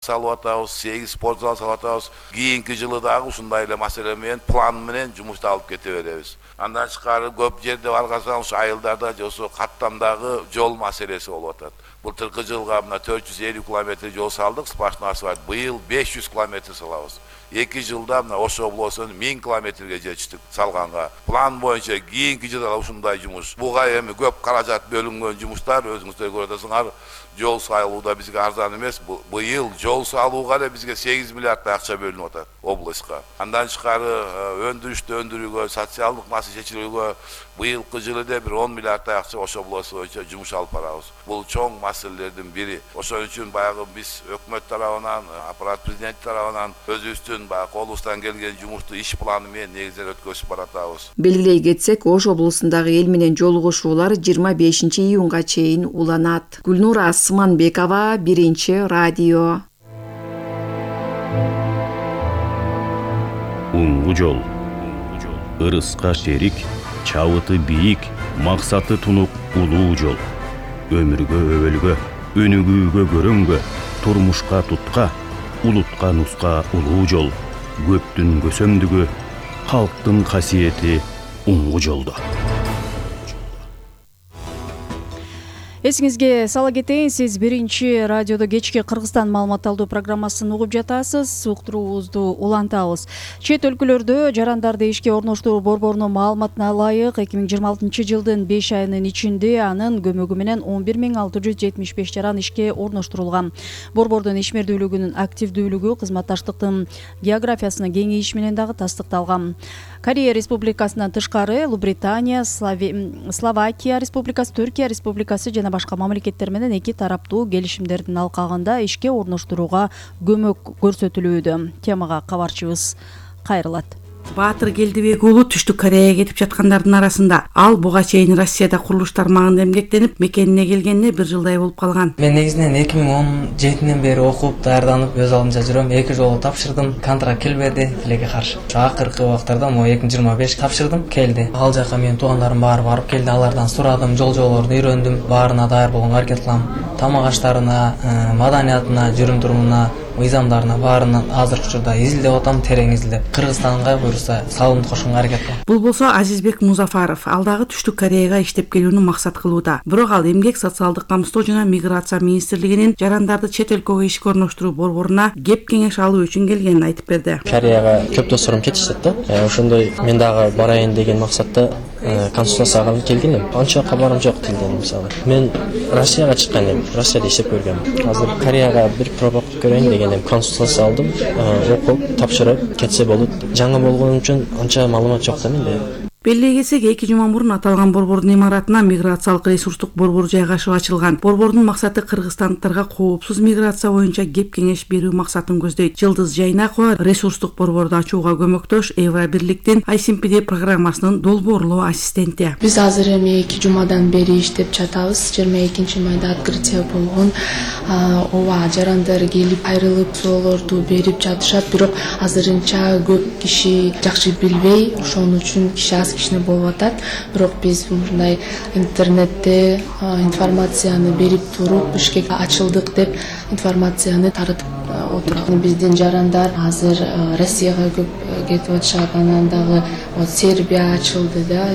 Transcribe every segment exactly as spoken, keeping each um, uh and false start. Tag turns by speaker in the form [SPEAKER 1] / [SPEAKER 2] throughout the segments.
[SPEAKER 1] салып атабыз, сегиз спорт зал салып атабыз. Кийинки жылы дагы ушундай эле маселе менен, план менен жумушту алып кете беребиз. Андан тышкары көп жерде баргансаң, ушу айылдарда же ошо каттамдагы жол маселеси болуп атат. Былтыркы жылга мына төрт жүз элүү километр жол салдык, сплошной асфальт. Быйыл беш жүз километр салабыз. эки жылда мына Ош облусунун миң километрге жетиштик салганга. План боюнча кийинки жылда ушундай жумуш. Буга эми көп каражат бөлүнгөн жумуштар, өзүңүздөр көрүп атасыңар. Жол салууда бизге арзан эмес. Быйыл жол салууга эле бизге сегиз миллиардтай акча бөлүнүп атат облуска. Андан тышкары өндүрүштү өндүрүүгө, социалдык маселе чечилүүгө быйылкы жылы да бир он миллиардтай акча Ош облусу боюнча жумуш алып барабыз. Бул чоң маселелердин бири. Ошон үчүн баягы биз өкмөт тарабынан, аппарат президент тарабынан өзүбүздүн баягы колубуздан келген жумушту иш планы менен негиздеп өткөзүп баратабыз.
[SPEAKER 2] Белгилей кетсек, Ош облусундагы эл менен жолугушуулар жыйырма бешинчи июнга чейин уланат. Гүлнура Асманбекова, Биринчи радио.
[SPEAKER 3] Уңгу жол. Ырыска шерик, чабыты бийик, максаты тунук улуу жол. Өмүргө өбөлгө, өнүгүүгө көрөнгө, турмушка тутка, улутка нуска улуу жол. Көптүн көсөмдүгү, калктын касиети уңгу жолдо.
[SPEAKER 4] Эсиңизге сала кетейин, сиз Биринчи радиодо кечки Кыргызстан маалымат алуу программасын угуп жатасыз. Уктуруубузду улантабыз. Чет өлкөлөрдө жарандарды ишке орноштуруу борборунун маалыматына ылайык эки миң жыйырма алтынчы жылдын беш айынын ичинде анын көмөгү менен он бир миң алты жүз жетимиш беш жаран ишке орноштурулган. Борбордун ишмердүүлүгүнүн активдүүлүгү кызматташтыктын географиясынын кеңейиши менен дагы тастыкталган. Корея Республикасынан тышкары Улуу-Британия, Словакия Республикасы, Түркия Республикасы жана башка мамлекеттер менен эки тараптуу келишимдердин алкагында ишке орноштурууга көмөк көрсөтүлүүдө. Темага кабарчыбыз кайрылат.
[SPEAKER 5] Баатыр Келдибек уулу Түштүк Кореяга кетип жаткандардын арасында. Ал буга чейин Россияда курулуш тармагында эмгектенип, мекенине келгенине бир жылдай болуп калган.
[SPEAKER 6] Мен негизинен эки миң он жетинен бери окуп, даярданып, өз алдынча жүрөм. Эки жолу тапшырдым, контракт келбеди, тилекке каршы. Акыркы убактарда могу эки миң жыйырма беш тапшырдым, келди. Ал жака менин туугандарым баары барып келди, алардан сурадым, жол-жолорду үйрөндүм, баарына даяр болгонго аракет кылам. Тамак аштарына, маданиятына, жүрүм-турумуна, мыйзамдарына баарынан азыркы учурда изилдеп атам, терең изилдеп. Кыргызстанга буюрса салымды кошконго аракет кылам.
[SPEAKER 5] Бул болсо Азизбек Музафаров. Ал дагы Түштүк Кореяга иштеп келүүнү максат кылууда. Бирок ал эмгек, социалдык камсыздоо жана миграция министрлигинин жарандарды чет өлкөгө ишке орноштуруу борборуна кеп кеңеш алуу үчүн келгенин айтып берди.
[SPEAKER 7] Кореяга көп досторум кетишет да. Ошондой мен дагы барайын деген максатта консультацияга келгенмин. Анча кабарым жок тилден мисалы. Мен Россияга чыккан элем, Россияда иштеп көргөм. Азыр Кореяга бир проба көрөйүн деген элем. Консультация алдым, окуп, тапшырып кетсе болот. Жаңы болгон үчүн анча маалымат жок да менде.
[SPEAKER 5] Белгилей кетсек, эки жума мурун аталган борбордун имаратына миграциялык ресурстук борбор жайгашып ачылган. Борбордун максаты кыргызстандыктарга коопсуз миграция боюнча кеп кеңеш берүү максатын көздөйт. Жылдыз Жайнакова ресурстук борборду ачууга көмөктөш Евробирликтин ай си эм пи ди программасынын долбоорлоо ассистенти.
[SPEAKER 8] Биз азыр эми эки жумадан бери иштеп жатабыз. жыйырма экинчи майда открытие болгон. Ооба, жарандар келип айрылып соолорду берип жатышат, бирок азырынча көп киши жакшы билбей, ошон үчүн киши кичине болуп атат. Бирок биз мындай интернетте информацияны берип туруп, Бишкекте ачылдык деп информацияны таратып отурган. Биздин жарандар азыр Россияга көп кетип атышат, анан дагы Сербия ачылды да.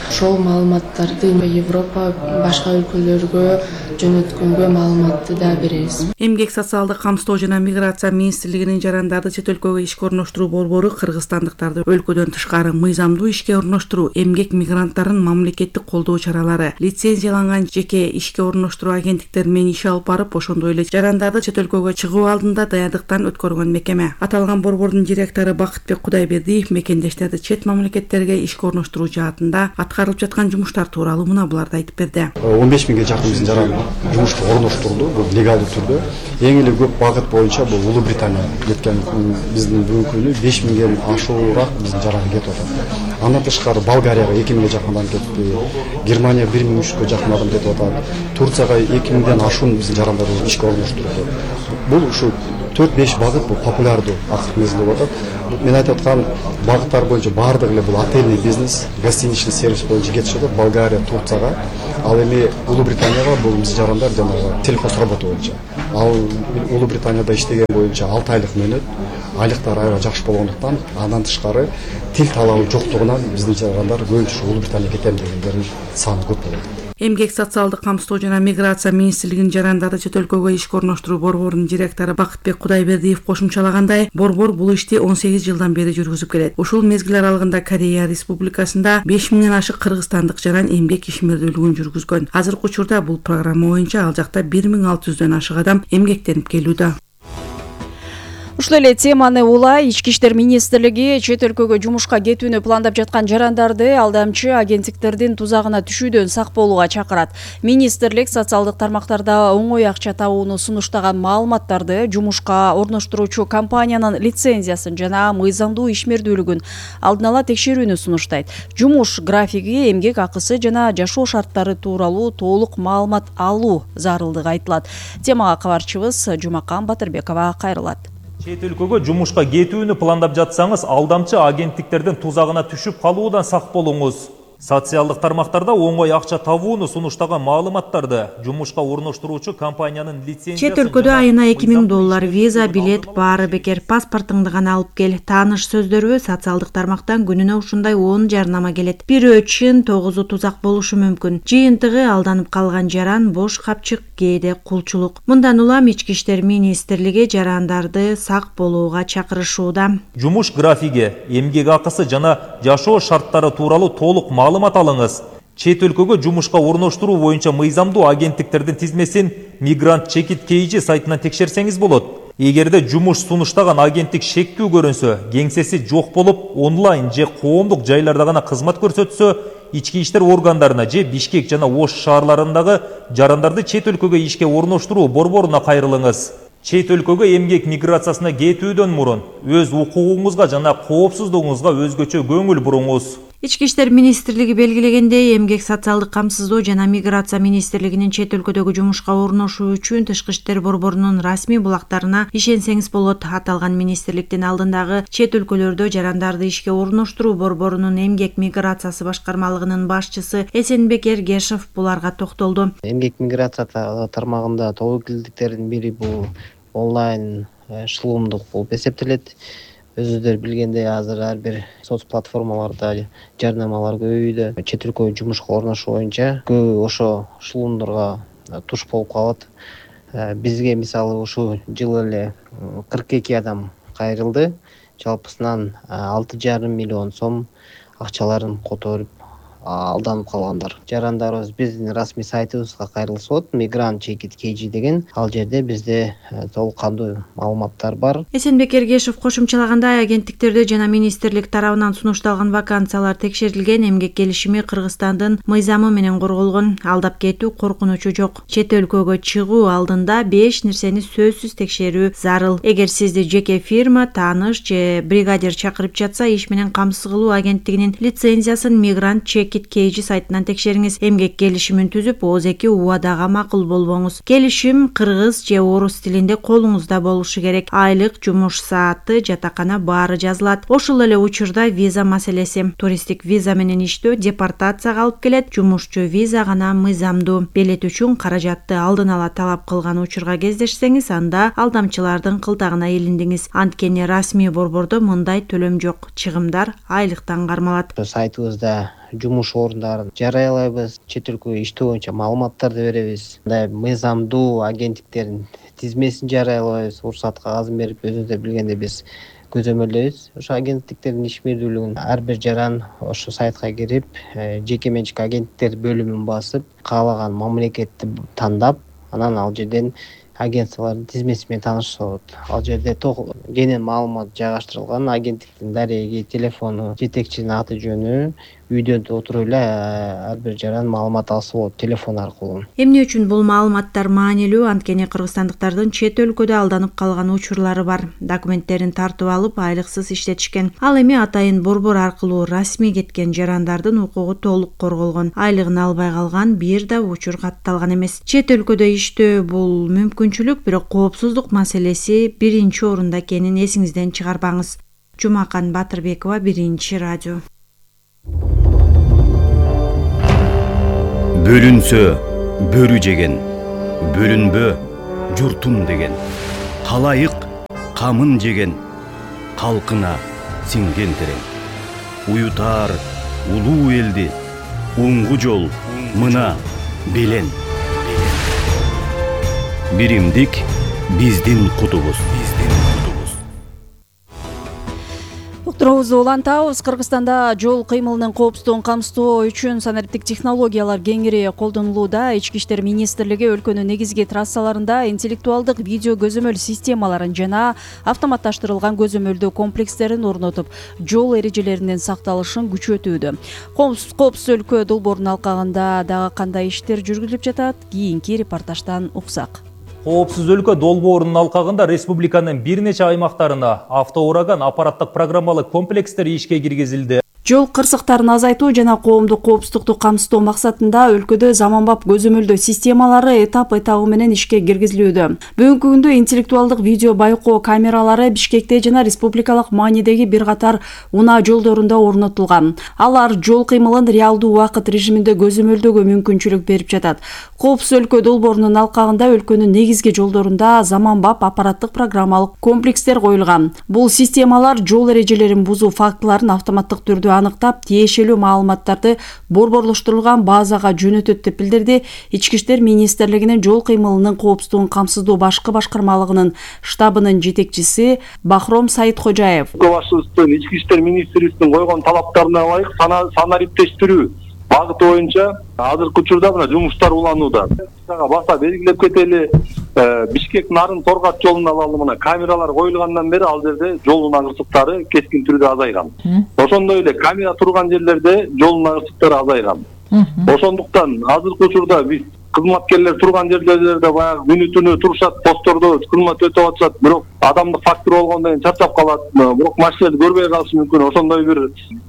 [SPEAKER 8] Ошол маалыматтарды Европа, башка өлкөлөргө жөнөткөнгө маалыматты да беребиз.
[SPEAKER 5] Эмгек, социалдык камсыздоо жана миграция министрлигинин жарандарды чет өлкөгө ишке орноштуруу борбору кыргызстандыктарды өлкөдөн тышкары мыйзамдуу ишке орноштуруу, эмгек мигранттарын мамлекеттик колдоо чаралары, лицензияланган жеке ишке орноштуруу агенттиктери менен иш алып барып, ошондой эле жарандарды чет өлкөгө чыгуу алдында даярдыктан өткөргөн мекеме. Аталган борбордун директору Бакытбек Кудайбердиев мекендештерди чет мамлекеттерге ишке орноштуруу жаатында аткарылып жаткан жумуштар тууралуу мына буларды айтып берди.
[SPEAKER 9] он беш миңге жакын биздин жаран жумушка орноштурулду, бул легалдуу түрдө. Эң эле көп багыт боюнча бул Улуу-Британия кеткен. Биздин бүгүнкү күнү беш миңден ашуураак биздин жаран кетип атат. Андан тышкары Болгарияга эки миңге жакын адам кетти. Германия бир миң үчкө жакын адам кетип атат. Турцияга эки миңден ашуун биздин жарандар ишке орноштурулду. Бул ушу төрт беш багыт бул популярдуу акыркы мезгилде болуп атат. Мен айтып аткан багыттар боюнча баардыгы эле бул отельный бизнес, гостиничный сервис боюнча кетишип атат. Болгария, Турцияга, ал эми Улуу Британияга бул биз жарандар жанагы телхоз работа боюнча. Ал Улуу Британияда иштеген боюнча алты айлык мөөнөт, айлыктар аябай жакшы болгондуктан андан тышкары тил талабы жоктугунан биздин жарандар көбүнчө Улуу Британияга кетем дегендердин саны көп болот.
[SPEAKER 5] Эмгек социалдык камсыздоо жана миграция министрлигинин жарандарды чет өлкөгө ишке орноштуруу борборунун директору Бакытбек Кудайбердиев кошумчалагандай, борбор бул ишти он сегиз жылдан бери жүргүзүп келет. Ушул мезгил аралыгында Корея Республикасында беш миңден ашык кыргызстандык жаран эмгек ишмердүүлүгүн жүргүзгөн. Азыркы учурда бул программа боюнча ал жакта бир миң алты жүздөн ашык адам эмгектенип келүүдө.
[SPEAKER 4] Ушул эле теманы улай Ички иштер министрлиги чет өлкөгө жумушка кетүүнү пландап жаткан жарандарды алдамчы агенттиктердин тузагына түшүүдөн сак болууга чакырат. Министрлик социалдык тармактарда оңой акча табууну сунуштаган маалыматтарды жумушка орноштуруучу компаниянын лицензиясын жана мыйзамдуу ишмердүүлүгүн алдын ала текшерүүнү сунуштайт. Жумуш графиги, эмгек акысы жана жашоо шарттары тууралуу толук маалымат алуу зарылдыгы айтылат. Темага кабарчыбыз Жумакан Батырбекова кайрылат.
[SPEAKER 10] Чет өлкөгө жумушка кетүүнү пландап жатсаңыз, алдамчы агенттиктердин тузагына түшүп калуудан сак болуңуз. Социалдык тармактарда оңой акча табууну сунуштаган маалыматтарды жумушка орноштуруучу компаниянын лицензиясын
[SPEAKER 2] чет өлкөдө айына эки миң доллар виза, билет баары бекер, паспортуңду гана алып кел. Тааныш сөздөрү социалдык тармактан күнүнө ушундай он жарнама келет. Бирөө чын, тогузу тузак болушу мүмкүн. Жыйынтыгы алданып калган жаран, бош капчык, кээде кулчулук. Мындан улам Ички иштер министрлиги жарандарды сак болууга чакырышууда.
[SPEAKER 10] Жумуш графиги, эмгек акысы жана жашоо шарттары тууралуу толук маалымат алыңыз. Чет өлкөгө жумушка орноштуруу боюнча мыйзамдуу агенттиктердин тизмесин Мигрант Чекит Кейжи сайтынан текшерсеңиз болот. Эгерде жумуш сунуштаган агенттик шектүү көрүнсө, кеңсеси жок болуп, онлайн же коомдук жайларда гана кызмат көрсөтсө, ички иштер органдарына же Бишкек жана Ош шаарларындагы жарандарды чет өлкөгө ишке орноштуруу борборуна кайрылыңыз. Чет өлкөгө эмгек миграциясына кетүүдөн мурун өз укугуңузга жана коопсуздугуңузга өзгөчө көңүл буруңуз.
[SPEAKER 2] Ички иштер министрлиги белгилегендей, эмгек социалдык камсыздоо жана миграция министрлигинин чет өлкөдөгү жумушка орношуу үчүн Тышкы иштер борборунун расмий булактарына ишенсеңиз болот. Аталган министрликтин алдындагы чет өлкөлөрдө жарандарды ишке орноштуруу борборунун эмгек миграциясы башкармалыгынын башчысы Эсенбек Эргешев буларга токтолду.
[SPEAKER 11] Эмгек миграция тармагында тобокелдиктердин бири бул онлайн шылуумдук болуп эсептелет. Өзүңүздөр билгендей, азыр ар бир соц платформаларда жарнамалар көбөйдү. Чет өлкөгө жумушка орношуу боюнча көбү ошо шылуумдорго туш болуп калат. Бизге мисалы ушул жылы эле кырк эки адам кайрылды. Жалпысынан алты жарым миллион сом акчаларын которуп алданып калгандар. Жарандарыбыз биздин расмий сайтыбызга кайрылса болот. Мигрант Чекит Кейжи деген. Ал жерде бизде толук кандуу маалыматтар бар.
[SPEAKER 2] Эсенбек Эргешев кошумчалагандай, агенттиктерде жана министрлик тарабынан сунушталган вакансиялар текшерилген, эмгек келишими Кыргызстандын мыйзамы менен корголгон. Алдап кетүү коркунучу жок. Чет өлкөгө чыгуу алдында беш нерсени сөзсүз текшерүү зарыл. Эгер сизди жеке фирма, тааныш же бригадир чакырып жатса, иш менен камсыз кылуу агенттигинин лицензиясын Мигрант Чекит Кейжи сайтынан текшериңиз. Эмгек келишимин түзүп, ооз-эки убадага макул болбоңуз. Келишим кыргыз же орус тилинде колуңузда болушу керек. Айлык, жумуш сааты, жатакана баары жазылат. Ошол эле учурда виза маселеси. Туристтик виза менен иштөө депортацияга алып келет. Жумушчу виза гана мыйзамдуу. Билет үчүн каражатты алдын ала талап кылган учурга кездешсеңиз, анда алдамчылардын кылтагына илиндиңиз. Анткени расмий борбордо мындай төлөм жок. Чыгымдар айлыктан кармалат.
[SPEAKER 11] Сайтыбызда жумуш орундарын жарыялайбыз, чет өлкөгө иштөө боюнча маалыматтарды беребиз. Мындай мыйзамдуу агенттиктердин тизмесин жарыялайбыз, уруксат кагазын берип, өзүңүздөр билгендей биз көзөмөлдөйбүз. Ошо агенттиктердин ишмердүүлүгүн ар бир жаран ошо сайтка кирип, жеке менчик агенттиктер бөлүмүн басып, каалаган мамлекетти тандап, анан ал жерден агентстволордун тизмеси менен таанышса болот. Ал жерде кенен маалымат жайгаштырылган, агенттиктин дареги, телефону, жетекчинин аты жөнү, үйдөн отуруп эле ар бир жаран маалымат алса болот телефон аркылуу.
[SPEAKER 2] Эмне үчүн бул маалыматтар маанилүү? Анткени кыргызстандыктардын чет өлкөдө алданып калган учурлары бар. Документтерин тартып алып айлыксыз иштетишкен. Ал эми атайын борбор аркылуу расмий кеткен жарандардын укугу толук корголгон. Айлыгын албай калган бир да учур катталган эмес. Чет өлкөдө иштөө бул мүмкүнчүлүк, бирок коопсуздук маселеси биринчи орунда экенин эсиңизден чыгарбаңыз. Жумакан Батырбекова, Биринчи радио.
[SPEAKER 3] Бөлүнсө бөрү жеген, бөлүнбө журтум деген. Халайык камын жеген, калкына сиңген терең. Уютар улуу элди, уңгу жол мына белен. Биримдик биздин кутубуз.
[SPEAKER 4] Уктуруубузду улантабыз. Кыргызстанда жол кыймылынын коопсуздугун камсыздоо үчүн санариптик технологиялар кеңири колдонулууда. Ички иштер министрлиги өлкөнүн негизги трассаларында интеллектуалдык видео көзөмөл системаларын жана автоматташтырылган көзөмөлдөө комплекстерин орнотуп, жол эрежелеринин сакталышын күчөтүүдө. Коопсуз өлкө долбоорунун алкагында дагы кандай иштер жүргүзүлүп жатат? Кийинки репортаждан уксак.
[SPEAKER 10] Коопсуз өлкө долбоорунун алкагында республиканын бир нече аймактарына автоураган аппараттык программалык комплекстер ишке киргизилди.
[SPEAKER 4] Жол кырсыктарын азайтуу жана коомдук коопсуздукту камсыздоо максатында өлкөдө заманбап көзөмөлдөө системалары этап-этабы менен ишке киргизилүүдө. Бүгүнкү күндө интеллектуалдык видео байкоо камералары Бишкекте жана республикалык маанидеги бир катар унаа жолдорунда орнотулган. Алар жол кыймылын реалдуу убакыт режиминде көзөмөлдөөгө мүмкүнчүлүк берип жатат. Коопсуз өлкө долбоорунун алкагында өлкөнүн негизги жолдорунда заманбап аппараттык программалык комплекстер коюлган. Бул системалар жол эрежелерин бузуу фактыларын автоматтык түрдө аныктап, тиешелүү маалыматтарды борборлоштурулган базага жөнөтөт деп билдирди Ички иштер министрлигинин жол кыймылынын коопсуздугун камсыздоо башкы башкармалыгынын штабынын жетекчиси Бахром Сайыткожаев.
[SPEAKER 12] Башчыбыздын Ички иштер министрлигинин койгон талаптарына ылайык санариптештирүү багыты боюнча азыркы учурда мына жумуштар уланууда. Баса белгилеп кетели, Бишкек Нарын Торгат жолун алалы, мына камералар коюлгандан бери ал жерде жол унаа кырсыктары кескин түрдө азайган. Ошондой эле камера турган жерлерде жол унаа кырсыктары азайган. Ошондуктан азыркы учурда биз кызматкерлер турган жерлерде баягы күнү түнү турушат, постордо кызмат өтөп атышат, бирок адамдык фактор болгондон кийин чарчап калат, бирок машиналарды көрбөй калышы мүмкүн. Ошондой бир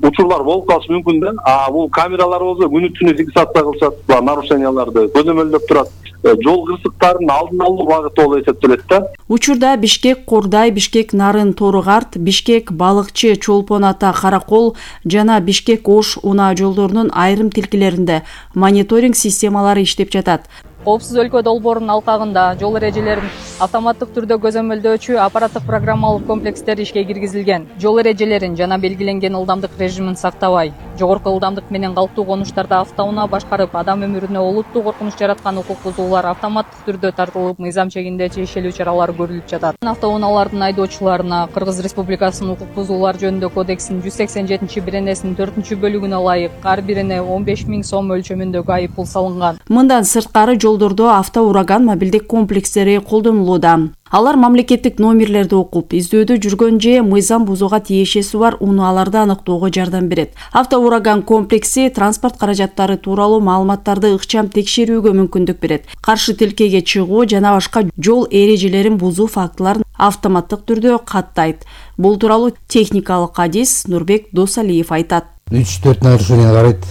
[SPEAKER 12] учурлар болуп калышы мүмкүн да. А бул камералар болсо күнү түнү фиксация кылышат, нарушенияларды көзөмөлдөп турат. Жол кырсыктарын алдын алуу багыты болуп эсептелет да.
[SPEAKER 4] Учурда Бишкек Курдай, Бишкек Нарын Торугарт, Бишкек Балыкчы Чолпон Ата Каракол жана Бишкек Ош унаа жолдорунун айрым тилкелеринде мониторинг системалары иштеп жатат.
[SPEAKER 13] Коопсуз өлкө долбоорунун алкагында жол эрежелерин автоматтык түрдө көзөмөлдөөчү аппараттык программалык комплекстер ишке киргизилген. Жол эрежелерин жана белгиленген ылдамдык режимин сактабай, жогорку ылдамдык менен калктуу конуштарда автоунаа башкарып, адам өмүрүнө олуттуу коркунуч жараткан укук бузуулар автоматтык түрдө тартылып, мыйзам чегинде тиешелүү чаралар көрүлүп жатат. Автоунаалардын айдоочуларына Кыргыз Республикасынын укук бузуулар жөнүндө кодексинин жүз сексен жетинчи беренесинин төртүнчү бөлүгүнө ылайык ар бирине он беш миң сом өлчөмүндөгү айып пул салынган.
[SPEAKER 4] Мындан сырткары жолдордо автоураган мобилдик комплекстери колдонулууда. Алар мамлекеттик номерлерди окуп, издөөдө жүргөн же мыйзам бузууга тиешеси бар унааларды аныктоого жардам берет. Автоураган комплекси транспорт каражаттары тууралуу маалыматтарды ыкчам текшерүүгө мүмкүндүк берет. Каршы тилкеге чыгуу жана башка жол эрежелерин бузуу фактыларын автоматтык түрдө каттайт. Бул тууралуу техникалык адис Нурбек Досалиев айтат.
[SPEAKER 14] үч төрт нарушение карайт.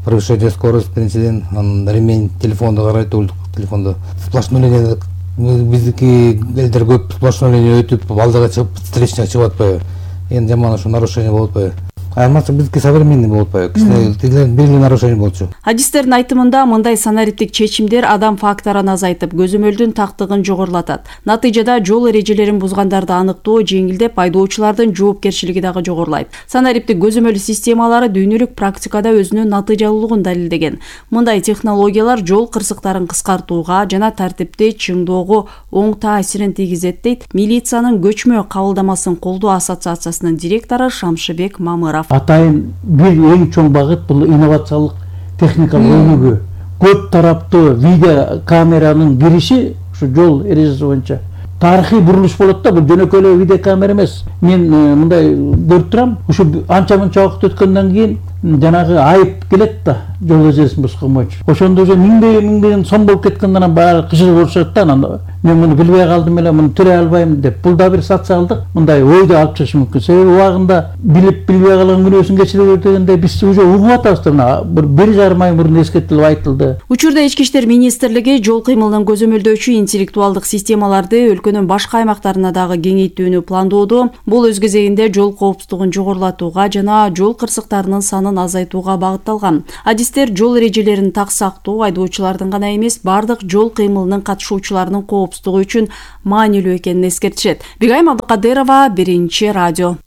[SPEAKER 14] Превышение скорости, биринчиден, анан ремень телефонду карайт, телефонду сплошной линия, биздики элдер көп сплошной линия өтүп алдыга чыгып встречный чыгып атпайбы, эми жаман ушу нарушение болуп атпайбы. Айырмасы биздики современный болуп атпайбы, кичине белгилүү нарушение болчу.
[SPEAKER 4] Адистердин айтымында мындай санариптик чечимдер адам факторун азайтып, көзөмөлдүн тактыгын жогорулатат. Натыйжада жол эрежелерин бузгандарды аныктоо жеңилдеп, айдоочулардын жоопкерчилиги дагы жогорулайт. Санариптик көзөмөл системалары дүйнөлүк практикада өзүнүн натыйжалуулугун далилдеген. Мындай технологиялар жол кырсыктарын кыскартууга жана тартипти чыңдоого оң таасирин тийгизет дейт милициянын көчмө кабылдамасын колдоо ассоциациясынын директору Шамшыбек Мамыров.
[SPEAKER 15] Атайын бир эң чоң багыт бул инновациялык техникалык өнүгүү. Көп тараптуу видео камеранын кириши ушу жол эрежеси боюнча тарыхый бурулуш болот да, бул жөнөкөй эле видео камера эмес. Мен мындай көрүп турам, ушу анча мынча убакыт өткөндөн кийин жанагы айып келет да жол эрежесин бускан боюнча. Ошондо уже миңдеген миңдеген сом болуп кеткенде анан баары кыжыгып болушат да, анан мен муну билбей калдым эле, муну төрөй албайм деп. Бул да бир социалдык мындай ойду алып чыгышы мүмкүн. Себеби убагында билип билбей калган күнөөсүн кечире бер дегенде биз уже угуп атабыз да, бир бир жарым ай мурун эскертилип айтылды.
[SPEAKER 4] Учурда Ички иштер министрлиги жол кыймылын көзөмөлдөөчү интеллектуалдык системаларды өлкөнүн башка аймактарына дагы кеңейтүүнү пландоодо. Бул өз кезегинде жол коопсуздугун жогорулатууга жана жол кырсыктарынын санын азайтууга багытталган. Адистер жол эрежелерин так сактоо айдоочулардын гана эмес, бардык жол кыймылынын катышуучуларынын коопсуздугу үчүн маанилүү экенин эскертишет. Бигайым Абдыкадырова, Биринчи радио.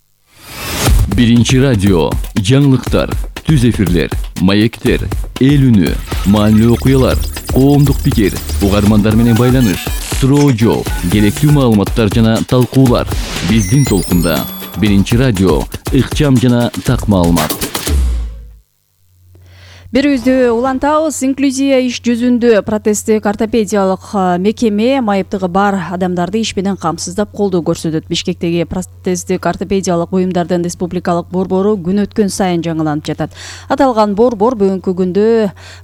[SPEAKER 16] Биринчи радио, жаңылыктар, түз эфирлер, маектер, эл үнү, маанилүү окуялар, коомдук пикир, угармандар менен байланыш, суроо жооп, керектүү маалыматтар жана талкуулар. Биздин толкунда Биринчи радио, ыкчам жана так маалымат.
[SPEAKER 4] Берүүбүздү улантабыз. Инклюзия иш жүзүндө протесттик ортопедиялык мекеме майыптыгы бар адамдарды иш менен камсыздап колдоо көрсөтөт. Бишкектеги протесттик ортопедиялык буюмдардын республикалык борбору күн өткөн сайын жаңыланып жатат. Аталган борбор бүгүнкү күндө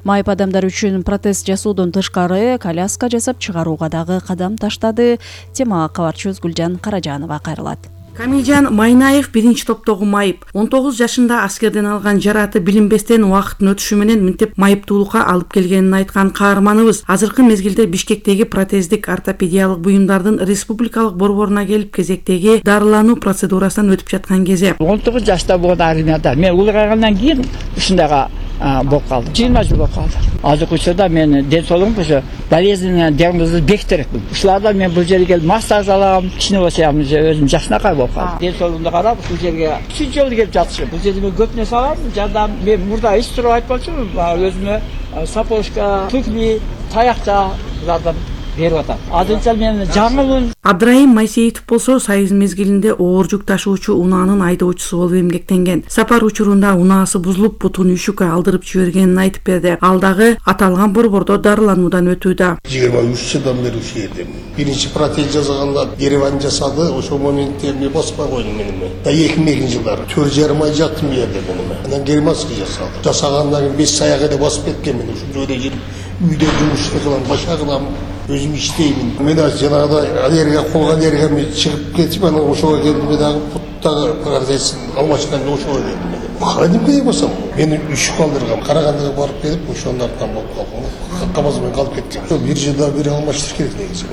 [SPEAKER 4] майып адамдар үчүн протез жасоодон тышкары коляска жасап чыгарууга дагы кадам таштады. Темага кабарчыбыз Гүлжан Каражанова кайрылат.
[SPEAKER 5] Камилжан Майнаев биринчи топтогу майып. он тогуз жашында аскерден алган жараты билинбестен убакыттын өтүшү менен мынтип майыптуулукка алып келгенин айткан каарманыбыз азыркы мезгилде Бишкектеги протездик ортопедиялык буюмдардын республикалык борборуна келип кезектеги дарылануу процедурасынан өтүп жаткан кезде
[SPEAKER 17] он тогуз жашта болгон армияда мен улгайгандан кийин ушундайга болуп калдым. жыйырма жыл болуп калды. Азыркы учурда мен ден соолугум ушу болезненный диагнозду бекитерекмин. Ушуларда мен бул жерге келип массаж алам, кичине болсо өзүм жакшынакай болуп калдым. Ден соолугумду карап ушул жерге үчүнчү жолу келип жатышым. Бул жерде мен көп нерсе алам. Жардам мен мурда ич туруп айтпакчымын. Өзүмө сапожка, туфли, таякча жардам берип атам. Азырынча мен жаңымын.
[SPEAKER 5] Абдрайым Майсеитов болсо союз мезгилинде оор жүк ташуучу унаанын айдоочусу болуп эмгектенген. Сапар учурунда унаасы бузулуп, бутун үйшүккө алдырып жибергенин айтып берди. Ал дагы аталган борбордо дарылануудан өтүүдө.
[SPEAKER 18] жыйырма үч жылдан бери ушул жердемин. Биринчи протез жасаганда Ереван жасады, ошол моментте мен баспай койдум менин. Да эки миң экинчи жылдары төрт жарым ай жаттым бу жерде менин. Анан германский жасалды. Жасагандан кийин беш аяк эле басып кеткенмин. Ушул жерде жүрүп үйдө жумуш кылам, башка кылам. Өзүм иштеймин. Мен жанагыдай алерге колгон жерге мен чыгып кетип, анан ошого келдим дагы буттагы протезин алмашканда ошого келдим. Кадимге басам. Мени үч калдырган. Карагандыга барып келип, ошондордон болуп калган. Камаз менен калып кеттим. Бир жылда бир алмаштырыш керек негизи.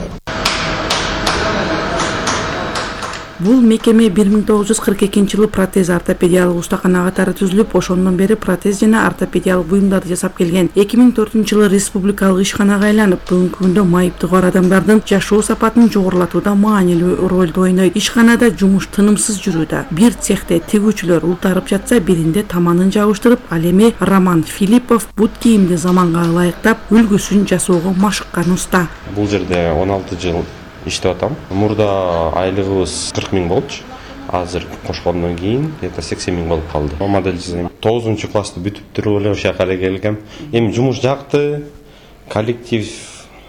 [SPEAKER 5] Бул мекеме бир миң тогуз жүз кырк экинчи жылы протез ортопедиялык устакана катары түзүлүп, ошондон бери протез жана ортопедиялык буюмдарды жасап келген. эки миң төртүнчү жылы республикалык ишканага айланып, бүгүнкү күндө майыптыгы бар адамдардын жашоо сапатын жогорулатууда маанилүү ролду ойнойт. Ишканада жумуш тынымсыз жүрүүдө. Бир цехте тигүүчүлөр ултарып жатса, биринде таманын жабыштырып, ал эми Роман Филиппов бут кийимди заманга ылайыктап, үлгүсүн жасоого машыккан уста.
[SPEAKER 19] Бул жерде он алты жыл иштеп атам. Мурда айлыгыбыз кырк миң болчу. Азыр кошкондон кийин где-то сексен миң болуп калды. Модель жасайм. тогузунчу классты бүтүп туруп эле ошол жака келгем. Эми жумуш жакты, коллектив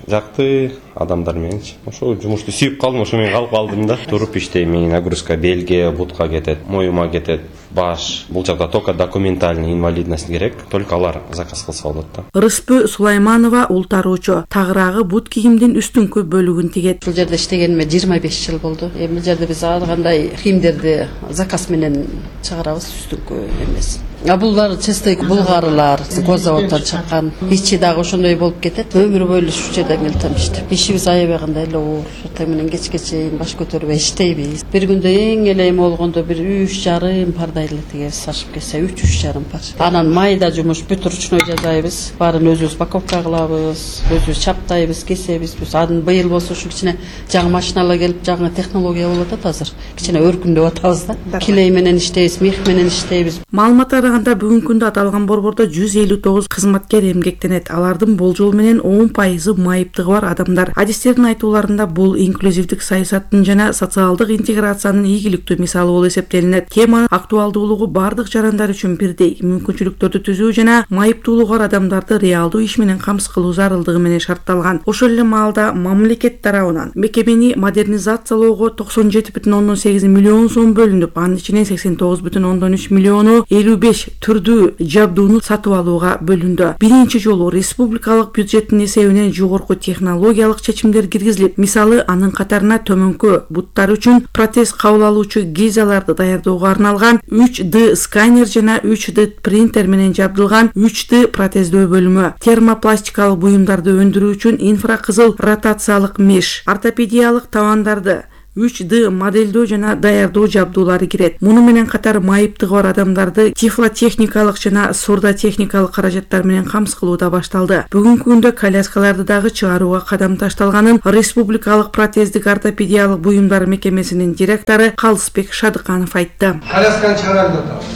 [SPEAKER 19] жакты, адамдар мененчи. Ошол жумушту сүйүп калдым, ошо менен калып калдым да. Туруп иштейм, нагрузка белге, бутка кетет, моюма кетет, баш. Бул жакта только документальный инвалидность керек, только алар заказ кылса болот да.
[SPEAKER 5] Рыспы Сулайманова ултаруучу, тагыраагы бут кийимдин үстүңкү бөлүгүн тигет.
[SPEAKER 20] Бул жерде иштегениме жыйырма беш жыл болду. Эми бул жерде биз ар кандай кийимдерди заказ менен чыгарабыз, үстүңкү эмес. А булар чистой булгарылар, козаводдон чыккан. Ичи дагы ошондой болуп кетет. Өмүр бою ушул жерде мелтем иштеп. Ишибиз аябагандай эле оор. Эртең менен кечке чейин баш көтөрбөй иштейбиз. Бир күндө эң эле эми болгондо бир үч жарым пардай эле тигебиз, ашып кетсе үч үч жарым пар. Анан майда жумуш бүт ручной жасайбыз. Баарын өзүбүз упаковка кылабыз, өзүбүз чаптайбыз, кесебиз. Биз анын быйыл болсо ушу кичине жаңы машиналар келип, жаңы технология болуп атат азыр. Кичине өркүндөп атабыз да. Килей менен иштейбиз, мех менен иштейбиз.
[SPEAKER 5] Маалыматтар анда бүгүнкү күндө аталган борбордо жүз элүү тогуз кызматкер эмгектенет. Алардын болжол менен он пайызы майыптыгы бар адамдар. Адистердин айтууларында бул инклюзивдик саясаттын жана социалдык интеграциянын ийгиликтүү мисалы болуп эсептелинет. Теманын актуалдуулугу бардык жарандар үчүн бирдей. Мүмкүнчүлүктөрдү түзүү жана майыптуулугу бар адамдарды реалдуу иш менен камсыз кылуу зарылдыгы менен шартталган. Ошол эле маалда мамлекет тарабынан мекемени модернизациялоого токсон жети бүтүн ондон сегиз миллион сом бөлүнүп, анын ичинен сексен тогуз бүтүн ондон үч миллиону элүү беш беш түрдүү жабдууну сатып алууга бөлүндү. Биринчи жолу республикалык бюджеттин эсебинен жогорку технологиялык чечимдер киргизилип, мисалы анын катарына төмөнкү буттар үчүн протез кабыл алуучу гизаларды даярдоого арналган үч дэ сканер жана үч дэ принтер менен жабдылган үч дэ протездөө бөлүмү, термопластикалык буюмдарды өндүрүү үчүн инфракызыл ротациялык меш, ортопедиялык табандарды, үч дэ моделдөө жана даярдоо жабдуулары кирет. Муну менен катар майыптыгы бар адамдарды тифлотехникалык жана сурдотехникалык каражаттар менен камсыз кылуу да башталды. Бүгүнкү күндө коляскаларды дагы чыгарууга кадам ташталганын республикалык протездик ортопедиялык буюмдар мекемесинин директору Калысбек Шадыканов айтты.
[SPEAKER 21] Колясканы чыгарып атабыз.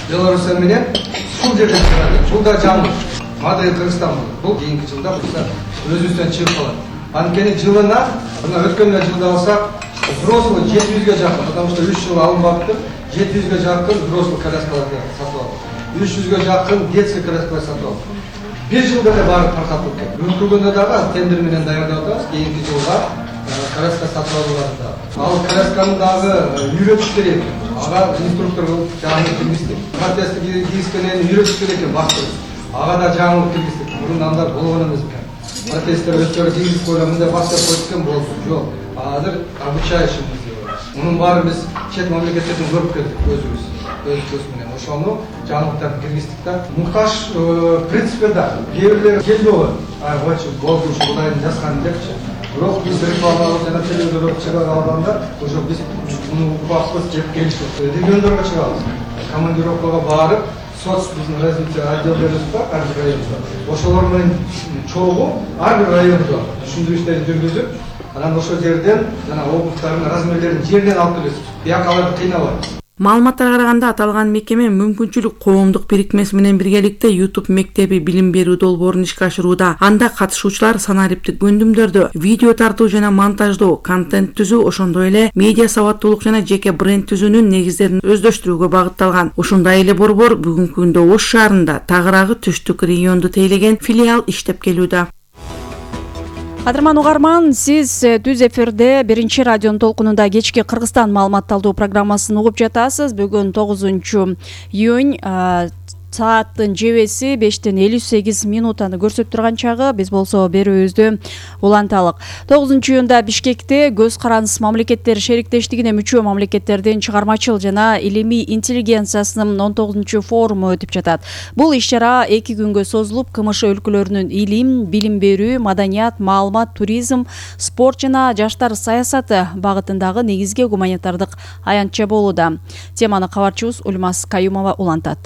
[SPEAKER 21] Белоруссия менен сул жерден чыгат. Бул да жаңы модель Кыргызстан. Бул кийинки жылда өзүбүздөн чыгып калат. Анткени жылына, мына өткөн жылда алсак, взрослый жети жүзгө жакын, потому что үч жыл алынбапты, жети жүзгө жакын взрослый коляскаларды сатып алдык. үч жүзгө жакын детский коляскалар сатып алдык. бир жылда эле баары таркатылып кетти. Өткөргөндө дагы тендер менен даярдап атабыз, кийинки жылга коляска сатып алууларында. Ал колясканы дагы үйрөтүш керек. Ага инструктор болуп жаңы киргиздик. Протезди кийишкенен үйрөтүш керек экен бактыр. Ага да жаңылык киргиздик. Мурун анда болгон эмес экен. Протезтер өздөрү кийгизип койгон, мындай бактап койгон болду. Жок. Азыр обучающийбиз деп атат. Мунун баары биз чет мамлекеттерден көрүп келдик өзүбүз. Өз көз менен ошону жаңылыктарды киргиздик да. Муктаж принципе да. Кээ бирлер келди го. Ай, бочу болду, ушулайын жазган депчи. Бирок биз рекламалап жана телевизорго чыгара алганда, уже биз муну укпакпыз деп келиштик. Региондорго чыгабыз. Командировкага барып, соц биздин развитие отделдерибиз бар, ар бир районда. Ошолор менен чогуу ар бир райондо түшүндүрүү жүргүзүп, анан ошол жерден жана облустардын размерлерин жерден алып келебиз. Бияка аларды кыйнабайбыз.
[SPEAKER 5] Маалыматтарга караганда аталган мекеме мүмкүнчүлүк коомдук бирикмеси менен биргеликте YouTube мектеби билим берүү долбоорун ишке ашырууда. Анда катышуучулар санариптик көндүмдөрдү, видео тартуу жана монтаждоо, контент түзүү, ошондой эле медиа сабаттуулук жана жеке бренд түзүүнүн негиздерин өздөштүрүүгө багытталган. Ошондой эле борбор бүгүнкү күндө Ош шаарында тагыраагы түштүк регионду тейлеген филиал иштеп келүүдө.
[SPEAKER 4] Кадырман угарман, сиз түз эфирде биринчи радионун толкунунда кечки Кыргызстан маалыматталдуу программасын угуп жатасыз. Бүгүн тогузунчу июнь сааттын жебеси бештен элүү сегиз минутаны көрсөтүп турган чагы. Биз болсо берүүбүздү уланталык. тогузунчу июнда Бишкекте көз карандысыз мамлекеттер шериктештигине мүчө мамлекеттердин чыгармачыл жана илимий интеллигенциясынын он тогузунчу форуму өтүп жатат. Бул иш-чара эки күнгө созулуп, КМШ өлкөлөрүнүн илим, билим берүү, маданият, маалымат, туризм, спорт жана жаштар саясаты багытындагы негизги гуманитардык аянтча болууда. Теманы кабарчыбыз Ульмас Каюмова улантат.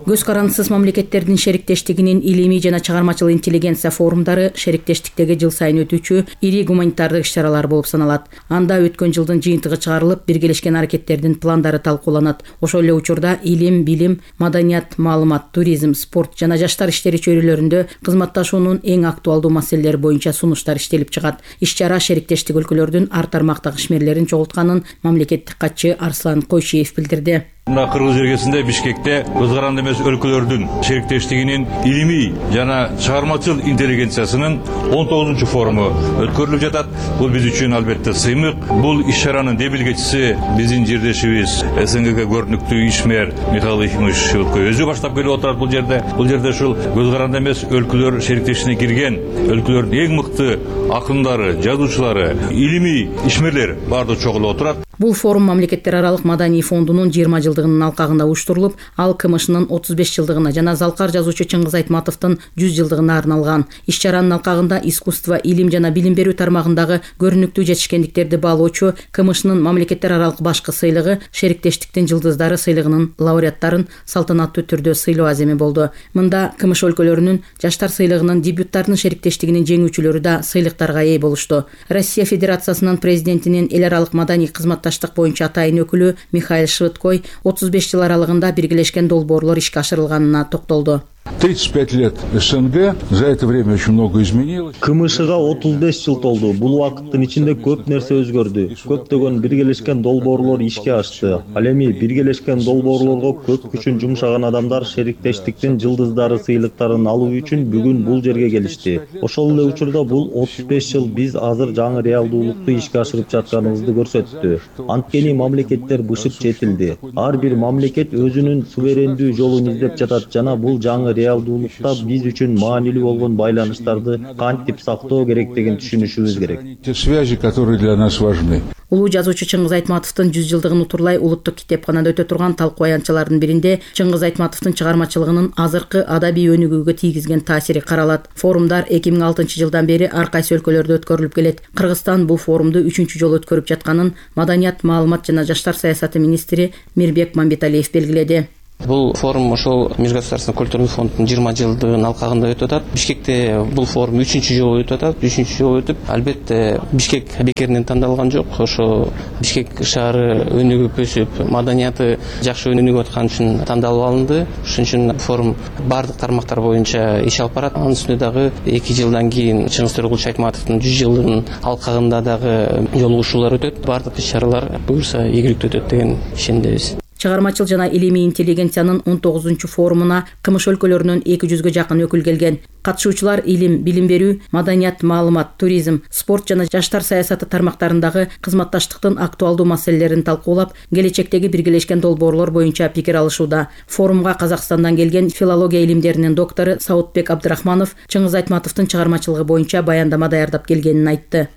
[SPEAKER 4] Көз карандысыз мамлекеттердин шериктештигинин илимий жана чыгармачыл интеллигенция форумдары шериктештиктеги жыл сайын өтүүчү ири гуманитардык иш-чаралар болуп саналат. Анда өткөн жылдын жыйынтыгы чыгарылып, биргелешкен аракеттердин пландары талкууланат. Ошол эле учурда илим, билим, маданият, маалымат, туризм, спорт жана жаштар иштери чөйрөлөрүндө кызматташуунун эң актуалдуу маселелери боюнча сунуштар иштелип чыгат. Иш-чара шериктештик өлкөлөрдүн ар тармактагы ишмерлерин чогултканын мамлекеттик катчы Арслан Койшиев билдирди.
[SPEAKER 22] Мына Кыргыз өлкөсүндө Бишкекте көз каранды эмес өлкөлөрдүн шериктештигинин илимий жана чыгармачыл интеллигенциясынын он тогузунчу форуму өткөрүлүп жатат. Бул биз үчүн албетте сыймык. Бул иш-чаранын дебилгечиси биздин жердешибиз СНГге көрүнүктүү ишмер Михаил Ефимович Шевкой өзү баштап келип отурат бул жерде. Бул жерде ушул көз каранды эмес өлкөлөр шериктештигине кирген өлкөлөрдүн эң мыкты акындары, жазуучулары, илимий ишмерлер баардыгы чогулуп отурат.
[SPEAKER 4] Бул форум мамлекеттер аралык маданий фондунун жыйырма жылдыгынын алкагында уюштурулуп, ал КМШнын отуз беш жылдыгына жана залкар жазуучу Чыңгыз Айтматовдун жүз жылдыгына арналган. Иш-чаранын алкагында искусство, илим жана билим берүү тармагындагы көрүнүктүү жетишкендиктерди баалоочу КМШнын мамлекеттер аралык башкы сыйлыгы Шериктештиктин жылдыздары сыйлыгынын лауреаттарын салтанаттуу түрдө сыйлоо аземи болду. Мында КМШ өлкөлөрүнүн жаштар сыйлыгынын дебюттардын шериктештигинин жеңүүчүлөрү да сыйлыктарга ээ болушту. Россия Федерациясынын президентинин эл аралык маданий кызматташтык боюнча атайын өкүлү Михаил Швыдкой отуз беш жыл аралыгында биргелешкен долбоорлор ишке ашырылганына токтолду.
[SPEAKER 1] тридцать пять лет СНГ, за это время очень много изменилось.
[SPEAKER 6] КМШга отуз беш жыл толду. Бул убакыттын ичинде көп нерсе өзгөрдү. Көптөгөн биргелешкен долбоорлор ишке ашты. Ал эми биргелешкен долбоорлорго көп күчүн жумшаган адамдар шериктештиктин жылдыздары сыйлыктарын алуу үчүн бүгүн бул жерге келишти. Ошол эле учурда бул отуз беш жыл биз азыр жаңы реалдуулукту ишке ашырып жатканыбызды көрсөттү. Анткени мамлекеттер бышып жетилди. Ар бир мамлекет өзүнүн суверендүү жолун издеп жатат жана бул жаңы реалдуулукта биз үчүн маанилүү болгон байланыштарды кантип сактоо керектигин түшүнүшүбүз керек.
[SPEAKER 1] Те связи, которые для нас важны.
[SPEAKER 23] Улуу жазуучу Чыңгыз Айтматовдун жүз жылдыгын утурлай улуттук китепканада өтө турган талкуу аянтчалардын биринде Чыңгыз Айтматовдун чыгармачылыгынын азыркы адабий өнүгүүгө тийгизген таасири каралат. Форумдар эки миң алтынчы жылдан бери ар кайсы өлкөлөрдө өткөрүлүп келет. Кыргызстан бул форумду үчүнчү жолу өткөрүп жатканын Маданият, маалымат жана жаштар саясаты министри Мирбек Мамбеталиев белгиледи.
[SPEAKER 7] Бул форум ошол Межгосударственный культурный фонддун жыйырма жылдыгын алкагында өтүп атат. Бишкекте бул форум үчүнчү жолу өтүп атат. үчүнчү жолу өтүп, албетте Бишкек бекеринен тандалган жок. Ошо Бишкек шаары өнүгүп өсүп, маданияты жакшы өнүгүп аткан үчүн тандалып алынды. Ошон үчүн форум бардык тармактар боюнча иш алып барат. Анын үстүнө дагы эки жылдан кийин Чыңгыз Төрөгулович Айтматовдун жүз жылдыгынын алкагында дагы жолугушуулар өтөт. Бардык иш-чаралар буюрса ийгиликтүү өтөт деген ишендебиз.
[SPEAKER 23] Чыгармачыл жана илимий интеллигенциянын он тогузунчу форумуна КМШ өлкөлөрүнөн эки жүзгө жакын өкүл келген. Катышуучулар илим, билим берүү, маданият, маалымат, туризм, спорт жана жаштар саясаты тармактарындагы кызматташтыктын актуалдуу маселелерин талкуулап, келечектеги биргелешкен долбоорлор боюнча пикир алышууда. Форумга Казакстандан келген филология илимдеринин доктору Саутбек Абдрахманов Чыңгыз Айтматовдун чыгармачылыгы боюнча баяндама даярдап келгенин айтты.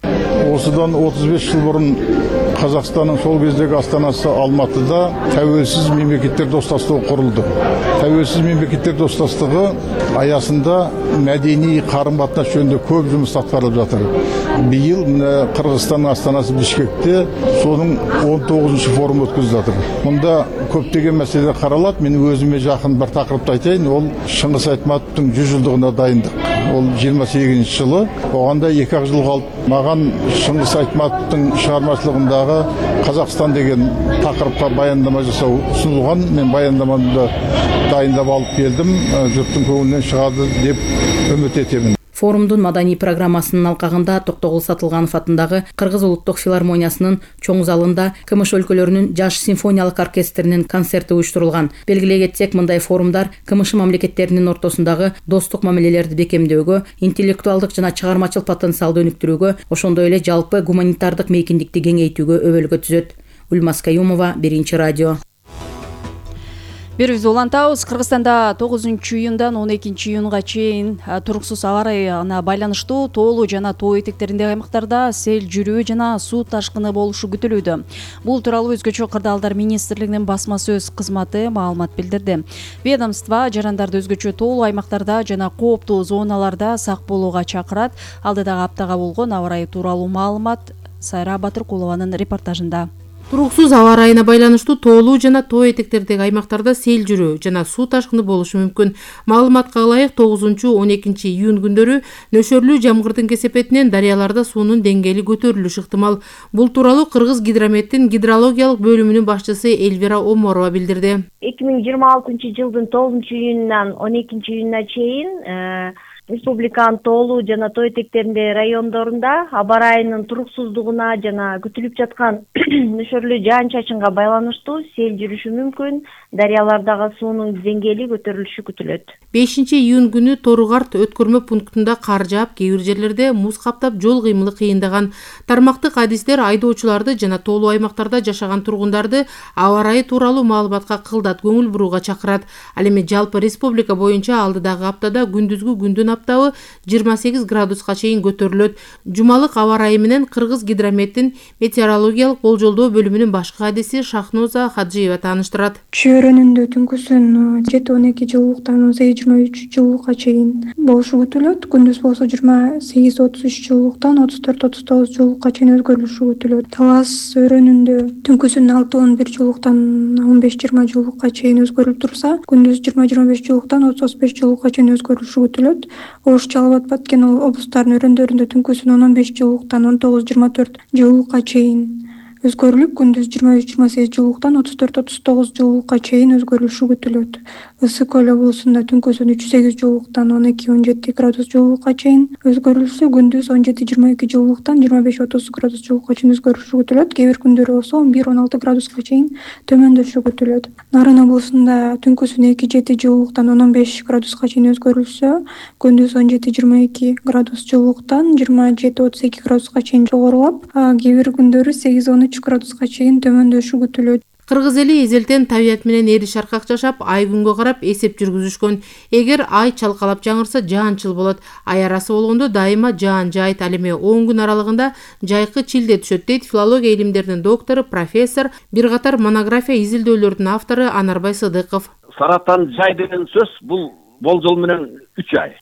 [SPEAKER 1] Осыдан отуз беш жыл мурун Казакстандын сол кездеги астанасы Алматыда тәуелсиз мемлекеттер достастыгы курулду. Тәуелсиз мемлекеттер достастыгы аясында мәдени карым-катнаш жөнүндө көп жумуш аткарылып жатыр. Быйыл мына Кыргызстандын астанасы Бишкекте сонун он тогузунчу форум өткөзүлүп жатыр. Мында көптөгөн маселелер каралат. Мен өзүмө жакын бир такырыпты айтайын. Ол Чыңгыз Айтматовдун жүз жылдыгына дайындык. Ол жыйырма сегизинчи жылы. Оганда эки ак жыл калып, маган Чыңгыз Айтматовдун чыгармачылыгындагы Казакстан деген такырыпка баяндама жасоо сунулган. Мен баяндамамды дайындап алып келдим. Журттун көңүлүнөн чыгады деп үмүт этемин.
[SPEAKER 23] Форумдун маданий программасынын алкагында Токтогул Сатылганов атындагы Кыргыз улуттук филармониясынын чоң залында КМШ өлкөлөрүнүн жаш симфониялык оркестринин концерти уюштурулган. Белгилей кетсек, мындай форумдар КМШ мамлекеттеринин ортосундагы достук мамилелерди бекемдөөгө, интеллектуалдык жана чыгармачыл потенциалды өнүктүрүүгө, ошондой эле жалпы гуманитардык мейкиндикти кеңейтүүгө өбөлгө түзөт. Ульмас Каюмова, Биринчи радио.
[SPEAKER 4] Берүүбүздү улантабыз. Кыргызстанда тогузунчу июндан он экинчи июнга чейин туруксуз аба ырайына байланыштуу тоолуу жана тоо этектериндеги аймактарда сел жүрүү жана суу ташкыны болушу күтүлүүдө. Бул тууралуу Өзгөчө кырдаалдар министрлигинин басма сөз кызматы маалымат билдирди. Ведомство жарандарды өзгөчө тоолуу аймактарда жана кооптуу зоналарда сак болууга чакырат. Алдыдагы аптага болгон аба ырайы тууралуу маалымат Сайра Батыркулованын репортажында.
[SPEAKER 5] Туруксуз аба ырайына байланыштуу тоолуу жана тоо этектердеги аймактарда сел жүрүү жана суу ташкыны болушу мүмкүн. Маалыматка ылайык тогузунчу он экинчи июнь күндөрү нөшөрлүү жамгырдын кесепетинен дарыяларда суунун деңгээли көтөрүлүшү ыктымал. Бул тууралуу Кыргыз гидрометтин гидрологиялык бөлүмүнүн башчысы Эльвира Оморова билдирди.
[SPEAKER 24] эки миң жыйырма алтынчы жылдын тогузунчу июнунан он экинчи июнуна чейин республиканын тоолуу жана тоо этектериндеги райондорунда аба ырайынын туруксуздугуна жана күтүлүп жаткан нөшөрлүү жаан-чачынга байланыштуу сел жүрүшү мүмкүн, дарыялардагы суунун деңгээли көтөрүлүшү күтүлөт.
[SPEAKER 5] бешинчи июнь күнү Торугарт өткөрмө пунктунда кар жаап, кээ бир жерлерде муз каптап, жол кыймылы кыйындаган. Тармактык адистер айдоочуларды жана тоолуу аймактарда жашаган тургундарды аба ырайы тууралуу маалыматка кылдат көңүл бурууга чакырат. Ал эми жалпы республика боюнча алдыдагы аптада күндүзгү күндүн аптабы жыйырма сегиз градуска чейин көтөрүлөт. Жумалык аба ырайы менен Кыргыз гидрометтин метеорологиялык болжолдоо бөлүмүнүн башкы адиси Шахноза Хаджиева тааныштырат.
[SPEAKER 25] Чөйрөнүндө түнкүсүн жети он эки жылуулуктан он сегиз жыйырма үч жылуулукка чейин болушу күтүлөт. Күндүз болсо жыйырма сегиз отуз үч жылуулуктан отуз төрт отуз тогуз жылуулукка чейин өзгөрүлүшү күтүлөт. Талас өрөөнүндө түнкүсүн алты он бир жылуулуктан он беш жыйырма жылуулукка чейин өзгөрүлүп турса, күндүз жыйырма жыйырма беш жылуулуктан отуз отуз беш жылуулукка чейин өзгөрүлүшү күтүлөт. Ош Жалал Абад Баткен облустарынын өрөөндөрүндө түнкүсүн он он беш жылуулуктан он тогуз жыйырма төрт жылуулукка чейин өзгөрүлүп күндүз жыйырма үч жыйырма сегиз жылуулуктан отуз төрт отуз тогуз жылуулукка чейин өзгөрүлүшү күтүлөт. Ысык көл облусунда түнкүсүн үч сегиз жылуулуктан он эки он жети градус жылуулукка чейин өзгөрүлсө, күндүз он жети жыйырма эки жылуулуктан жыйырма беш отуз градус жылуулукка чейин өзгөрүлүшү күтүлөт. Кээ бир күндөрү болсо он бир он алты градуска чейин төмөндөшү күтүлөт. Нарын облусунда түнкүсүн эки жети жылуулуктан он он беш градуска чейин өзгөрүлсө, күндүз он жети жыйырма эки градус жылуулуктан жыйырма жети отуз эки градуска чейин жогорулап, кээ бир күндөрү сегиз он үч градуска чейин төмөндөшү күтүлөт.
[SPEAKER 2] Кыргыз эли эзелтен табият менен эри шаркак жашап, ай күнгө карап эсеп жүргүзүшкөн. Эгер ай чалкалап жаңырса, жаанчыл болот. Ай арасы болгондо дайыма жаан жайт. Ал эми он күн аралыгында жайкы чилде түшөт дейт филология илимдеринин доктору, профессор, бир катар монография изилдөөлөрдүн автору Анарбай Сыдыков.
[SPEAKER 3] Саратан жай деген сөз бул болжол менен үч ай.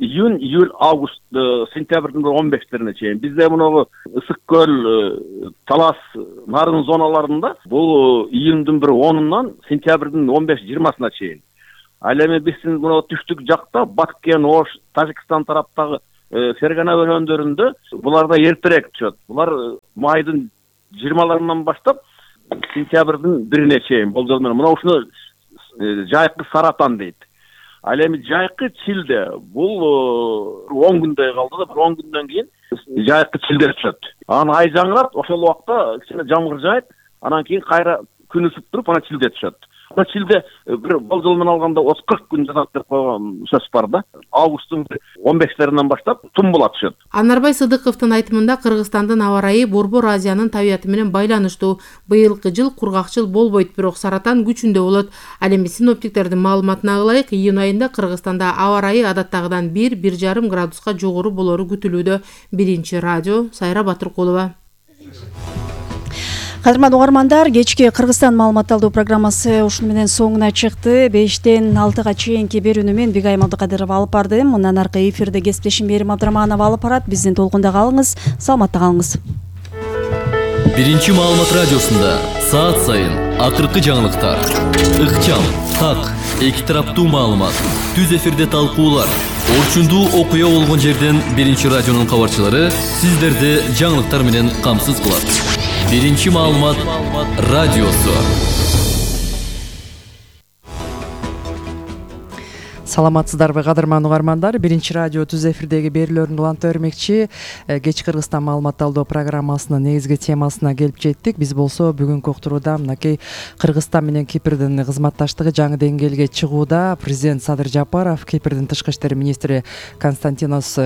[SPEAKER 3] Июнь, июль, август, сентябрдын он бештерине чейин. Бизде мынагы ысык көл, талас, нарын зоналарында бул июндун бир онунан сентябрдын он беш жыйырмасына чейин. Ал эми биздин мына түштүк жакта Баткен, Ош, Тажикстан тараптагы Фергана өлкөлөрүндө буларда эртерээк түшөт. Булар майдын жыйырмаларынан баштап сентябрдын бирине чейин болжол менен. Мына ушуну жайкы Саратан дейт. Ал эми жайкы чилде бул он күндөй калды да, бир он күндөн кийин жайкы чилде түшөт. Анан ай жаңырат, ошол убакта кичине жамгыр жаайт, анан кийин кайра күн ысып туруп, анан чилде түшөт. Ошо чилде бир болжол менен алганда отуз кырк күн жатат деп койгон сөз бар да. Августтун он бештеринен баштап тум була түшөт.
[SPEAKER 2] Анарбай Сыдыковдун айтымында Кыргызстандын аба ырайы Борбор Азиянын табияты менен байланыштуу. Быйылкы жыл кургакчыл болбойт, бирок Саратан күчүндө болот. Ал эми синоптиктердин маалыматына ылайык, июнь айында Кыргызстанда аба ырайы адаттагыдан бир бир жарым градуска жогору болору күтүлүүдө. Биринчи радио Сайра Батыркулова.
[SPEAKER 4] Кадырман угармандар, кечки Кыргызстан маалымат алуу программасы ушуну менен соңуна чыкты. бештен алтыга чейинки берүүнү мен Бигай Мадыкадырова алып бардым. Мындан аркы эфирде кесиптешим Мерим Абдраманова алып барат. Биздин толкунда калыңыз, саламатта калыңыз.
[SPEAKER 16] Биринчи маалымат радиосунда саат сайын акыркы жаңылыктар, ыкчам, так, эки тараптуу маалымат, түз эфирде талкуулар, орчундуу окуя болгон жерден Биринчи радионун кабарчылары сиздерди жаңылыктар менен камсыз кылат. Биринчи маалымат радиосу.
[SPEAKER 8] Саламатсыздарбы кадырман угармандар, Биринчи радио түз эфирдеги берүүлөрүн уланта бермекчи. Кеч Кыргызстан маалымат алуу программасынын негизги темасына келип жеттик. Биз болсо бүгүнкү уктурууда мынакей Кыргызстан менен Кипрдин кызматташтыгы жаңы деңгээлге чыгууда. Президент Садыр Жапаров Кипрдин тышкы иштер министри Константинос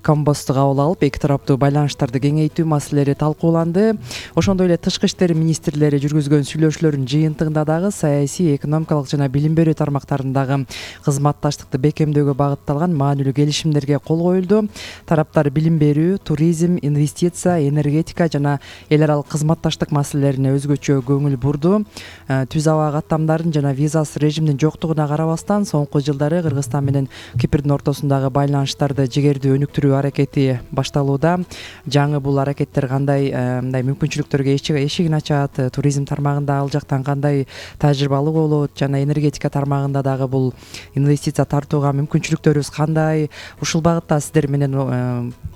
[SPEAKER 8] Комбосту кабыл алып, эки тараптуу байланыштарды кеңейтүү маселелери талкууланды. Ошондой эле тышкы иштер министрлери жүргүзгөн сүйлөшүүлөрдүн жыйынтыгында дагы саясий, экономикалык жана билим берүү тармактарындагы кызмат таштыкты бекемдөөгө багытталган маанилүү келишимдерге кол коюлду. Тараптар билим берүү, туризм, инвестиция, энергетика жана эл аралык кызматташтык маселелерине өзгөчө көңүл бурду. Түз аба каттамдарын жана визасыз режимдин жоктугуна карабастан, соңку жылдары Кыргызстан менен Кипрдин ортосундагы байланыштарды жигердүү өнүктүрүү аракети башталууда. Жаңы бул аракеттер кандай мындай мүмкүнчүлүктөргө эшигин ачат, туризм тармагында ал жактан кандай тажрыйбалуу болот жана энергетика тармагында дагы бул инвестиция тартууга мүмкүнчүлүктөрүбүз кандай? Ушул багытта сиздер менен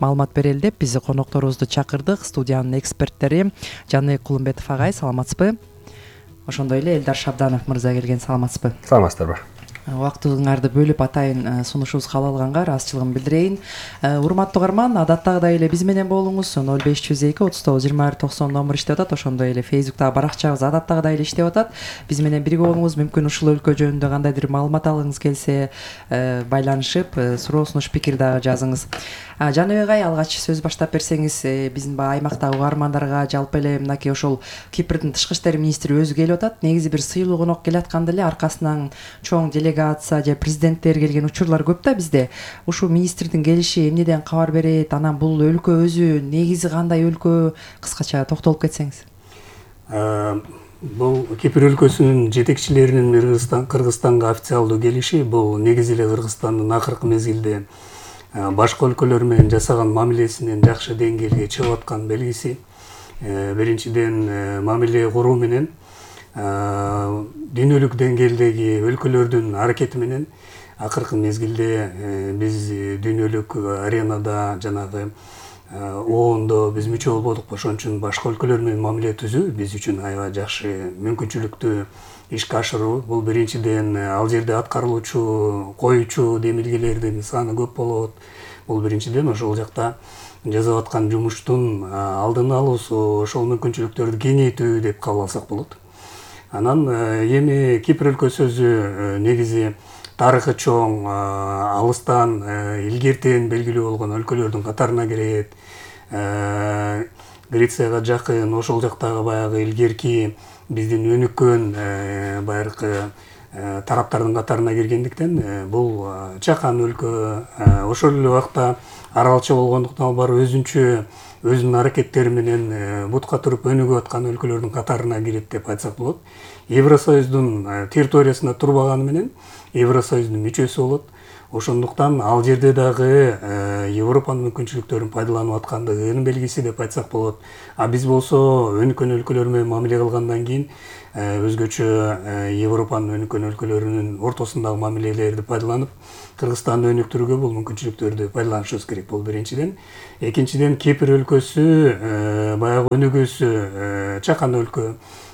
[SPEAKER 8] маалымат берели деп биз конокторубузду чакырдык. Студиянын эксперттери Жаныбек Кулумбетов агай, саламатсызбы? Ошондой эле Элдар Шабданов мырза келген, саламатсызбы?
[SPEAKER 9] Саламатсыздарбы?
[SPEAKER 8] Убактыңарды бөлүп атайын сунушубузга кабыл алганга ыраазычылыгымды билдирейин. Урматтуу угарман, адаттагыдай эле биз менен болуңуз. ноль беш жүз эки отуз тогуз жыйырма бир токсон номер иштеп атат. Ошондой эле Facebook'тагы баракчабыз адаттагыдай эле иштеп атат. Биз менен бирге болуңуз. Мүмкүн ушул өлкө жөнүндө кандайдыр маалымат алгыңыз келсе, байланышып, суроо сунуш пикир дагы жазыңыз. Жаныбек агай, алгач сөз баштап берсеңиз, биздин баягы аймактагы угармандарга жалпы эле мынакей ошол Кипрдин тышкы иштер министри өзү келип атат. Негизи бир сыйлуу конок келатканда эле аркасынан чоң делегация же президенттер келген учурлар көп да бизде. Ушул министрдин келиши эмнеден кабар берет? Анан бул өлкө өзү негизи кандай өлкө? Кыскача токтолуп кетсеңиз.
[SPEAKER 9] Бул Кипр өлкөсүнүн жетекчилеринин Кыргызстан Кыргызстанга официалдуу келиши бул негизи эле Кыргызстандын акыркы мезгилде башка өлкөлөр менен жасаган мамилесинен жакшы деңгээлге чыгып аткан белгиси. Биринчиден, мамиле куруу менен дүйнөлүк деңгээлдеги өлкөлөрдүн аракети менен акыркы мезгилде биз дүйнөлүк аренада жанагы оондо биз мүчө болбодук, ошон үчүн башка өлкөлөр менен мамиле түзүү биз үчүн аябай жакшы мүмкүнчүлүктү ишке ашыруу. Бул биринчиден ал жерде аткарылуучу коюучу демилгелердин саны көп болот. Бул биринчиден ошол жакта жасап аткан жумуштун алдын алуусу, ошол мүмкүнчүлүктөрдү кеңейтүү деп кабыл алсак болот. Анан эми Кипр өлкөсү өзү негизи тарыхы чоң, алыстан илгертен белгилүү болгон өлкөлөрдүн катарына кирет. Грецияга жакын, ошол жактагы баягы илгерки биздин өнүккөн байыркы тараптардын катарына киргендиктен бул чакан өлкө. Ошол эле убакта аралча болгондуктан албар өзүнчө өзүнүн аракеттери менен бутка туруп өнүгүп аткан өлкөлөрдүн катарына кирет деп айтсак болот. Евросоюздун территориясында турбаганы менен Евросоюздун мүчөсү болот. Ошондуктан ал жерде дагы Европанын мүмкүнчүлүктөрүн пайдаланып аткандыгынын белгиси деп айтсак болот. А биз болсо өнүккөн өлкөлөр менен мамиле кылгандан кийин өзгөчө Европанын өнүккөн өлкөлөрүнүн ортосундагы мамилелерди пайдаланып Кыргызстанды өнүктүрүүгө бул мүмкүнчүлүктөрдү пайдаланышыбыз керек. Бул биринчиден. Экинчиден Кипр өлкөсү баягы өнүгүүсү чакан өлкө,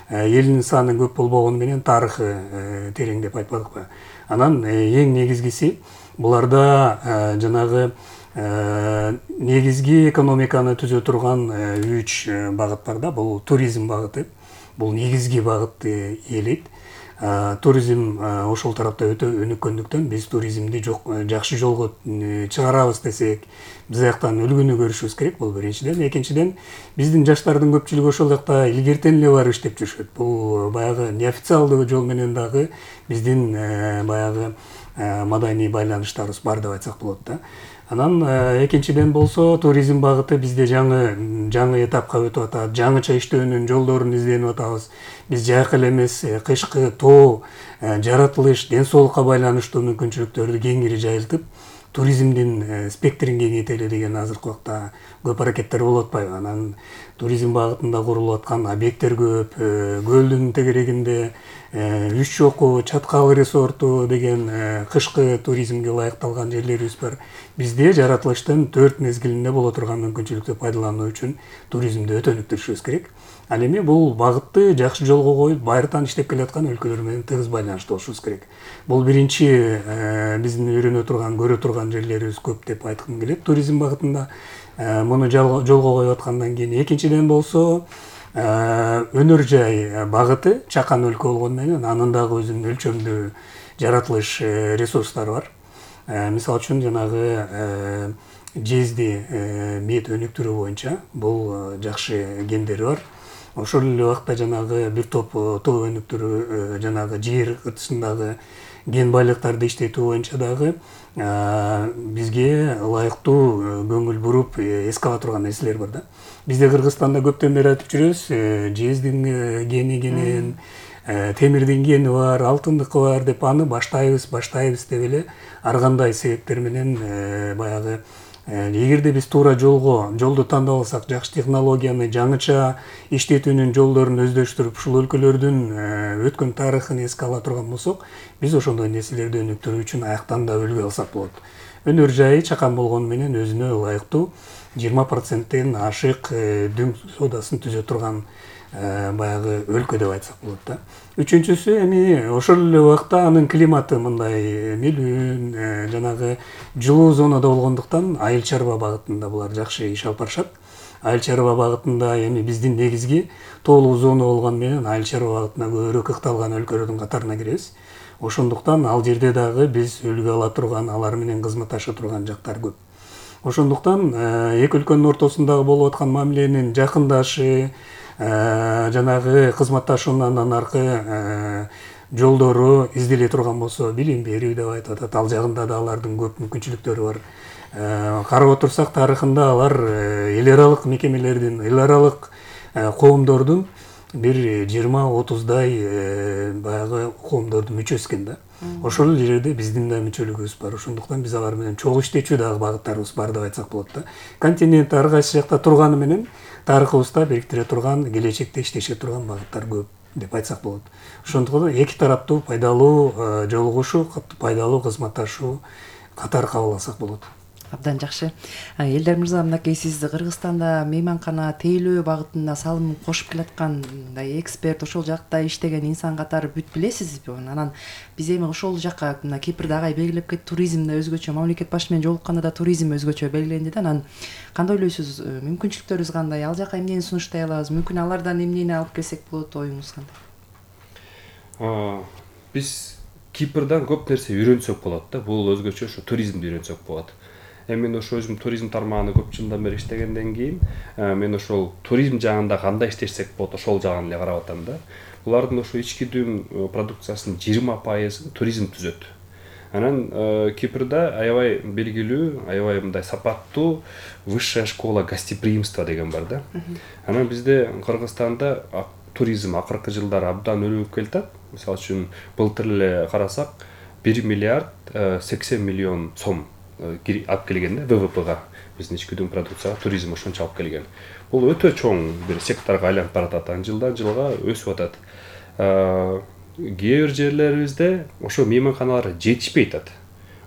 [SPEAKER 9] элинин саны көп болбогону менен тарыхы терең деп айтпадыкпы. Анан эң негизгиси буларда жанагы негизги экономиканы түзө турган үч багыт бар да. Бул туризм багыты. Бул негизги багытты ээлейт. Туризм ошол тарапта өтө өнүккөндүктөн биз туризмди жакшы жолго чыгарабыз десек, биз аяктан үлгүнү көрүшүбүз керек. Бул биринчиден. Экинчиден, биздин жаштардын көпчүлүгү ошол жакта илгертен эле барып иштеп жүрүшөт. Бул баягы неофициалдуу жол менен дагы биздин баягы маданий байланыштарыбыз бар деп айтсак болот да. Анан экинчиден болсо туризм багыты бизде жаңы жаңы этапка өтүп атат. Жаңыча иштөөнүн жолдорун изденип атабыз. Биз жайкы эле эмес, кышкы тоо, жаратылыш, ден соолукка байланыштуу мүмкүнчүлүктөрдү кеңири жайылтып, туризмдин спектрин кеңейтели деген азыркы убакта көп аракеттер болуп атпайбы? Анан туризм багытында курулуп аткан объекттер көп, көлдүн тегерегинде Үч Чоку, Чаткал резорту деген кышкы туризмге ылайыкталган жерлерибиз бар. Бизде жаратылыштын төрт мезгилинде боло турган мүмкүнчүлүктү пайдалануу үчүн туризмди өтө өнүктүрүшүбүз керек. Ал эми бул багытты жакшы жолго коюп, байыртан иштеп келаткан өлкөлөр менен тыгыз байланыштуу болушубуз керек. Бул биринчи биздин үйрөнө турган, көрө турган жерлерибиз көп деп айткым келет туризм багытында. Муну жолго коюп аткандан кийин экинчиден болсо өнөр жай багыты чакан өлкө болгону менен анын дагы өзүнүн өлчөмдүү жаратылыш ресурстары бар. Мисалы үчүн жанагы жезди мед өнүктүрүү боюнча бул жакшы гендери бар. Ошол эле убакта жанагы бир топ тоо өнүктүрүү, жанагы жер ыртысындагы ген байлыктарды иштетүү боюнча дагы бизге ылайыктуу көңүл буруп эске ала турган нерселер бар да. Бизде Кыргызстанда көптөн бери айтып жүрөбүз, жездин гени кенен, темирдин гени бар, алтындыкы бар деп аны баштайбыз, баштайбыз деп эле ар кандай себептер менен баягы эгерде биз туура жолго, жолду тандап алсак, жакшы технологияны, жаңыча иштетүүнүн жолдорун өздөштүрүп, ушул өлкөлөрдүн өткөн тарыхын эске ала турган болсок, биз ошондой нерселерди өнүктүрүү үчүн аяктан да үлгү алсак болот. Өнөр жайы чакан болгону менен өзүнө ылайыктуу жыйырма проценттен ашык дүң соодасын түзө турган баягы өлкө деп айтсак болот да. Үчүнчүсү эми ошол эле убакта анын климаты мындай мелүүн, жанагы жылуу зонада болгондуктан айыл чарба багытында булар жакшы иш алып барышат. Айыл чарба багытында эми биздин негизги тоолуу зона болгону менен айыл чарба багытына көбүрөөк ыкталган өлкөлөрдүн катарына киребиз. Ошондуктан ал жерде дагы биз үлгү ала турган, алар менен кызматташа турган жактар көп. Ошондуктан эки өлкөнүн ортосундагы болуп аткан мамиленин жакындашы, жанагы кызматташуунан аркы жолдору изделе турган болсо, билим берүү деп айтып атат. Ал жагында да алардын көп мүмкүнчүлүктөрү бар. Карап отурсак, тарыхында алар эл аралык мекемелердин, эл аралык коомдордун бир жыйырма отуздай баягы коомдордун мүчөсү экен да. Ошол жерде биздин да мүчөлүгүбүз бар. Ошондуктан биз алар менен чогуу иштечү дагы багыттарыбыз бар деп айтсак болот да. Континент ар кайсы жакта турганы менен тарыхыбызда бириктире турган, келечекте иштеше турган багыттар көп деп айтсак болот. Ошондуктан эки тараптуу пайдалуу жолугушуу, пайдалуу кызматташуу катар кабыл алсак болот.
[SPEAKER 8] Абдан жакшы. Элдар мырза, мынакей сиз Кыргызстанда мейманкана тейлөө багытына салым кошуп келаткан мындай эксперт, ошол жакта иштеген инсан катары бүт билесизби? Анан биз эми ошол жакка мына Кипрде агай белгилеп кетти, туризмде өзгөчө, мамлекет башы менен жолукканда да туризм өзгөчө белгиленди да. Анан кандай ойлойсуз, мүмкүнчүлүктөрүбүз кандай? Ал жака эмнени сунуштай алабыз? Мүмкүн алардан эмнени алып келсек болот, оюңуз кандай?
[SPEAKER 10] Биз Кипрдан көп нерсе үйрөнсөк болот да. Бул өзгөчө ошо туризмди үйрөнсөк болот. Эми мен ошо өзүм туризм тармагында көп жылдан бери иштегенден кийин мен ошол туризм жагында кандай иштешсек болот, ошол жагын эле карап атам да. Булардын ошо ички дүң продукциясынын жыйырма пайызын туризм түзөт. Анан Кипрда аябай белгилүү, аябай мындай сапаттуу высшая школа гостеприимства деген бар да. Анан бизде Кыргызстанда туризм акыркы жылдары абдан өнүгүп келатат. Мисалы үчүн былтыр эле карасак бир миллиард сексен миллион сом алып келген да вэ вэ пэга, биздин ички дүң продукцияга туризм ошончо алып келген. Бул өтө чоң бир секторго айланып баратат, анан жылдан жылга өсүп атат. Кээ бир жерлерибизде ошо мейманканалар жетишпей атат.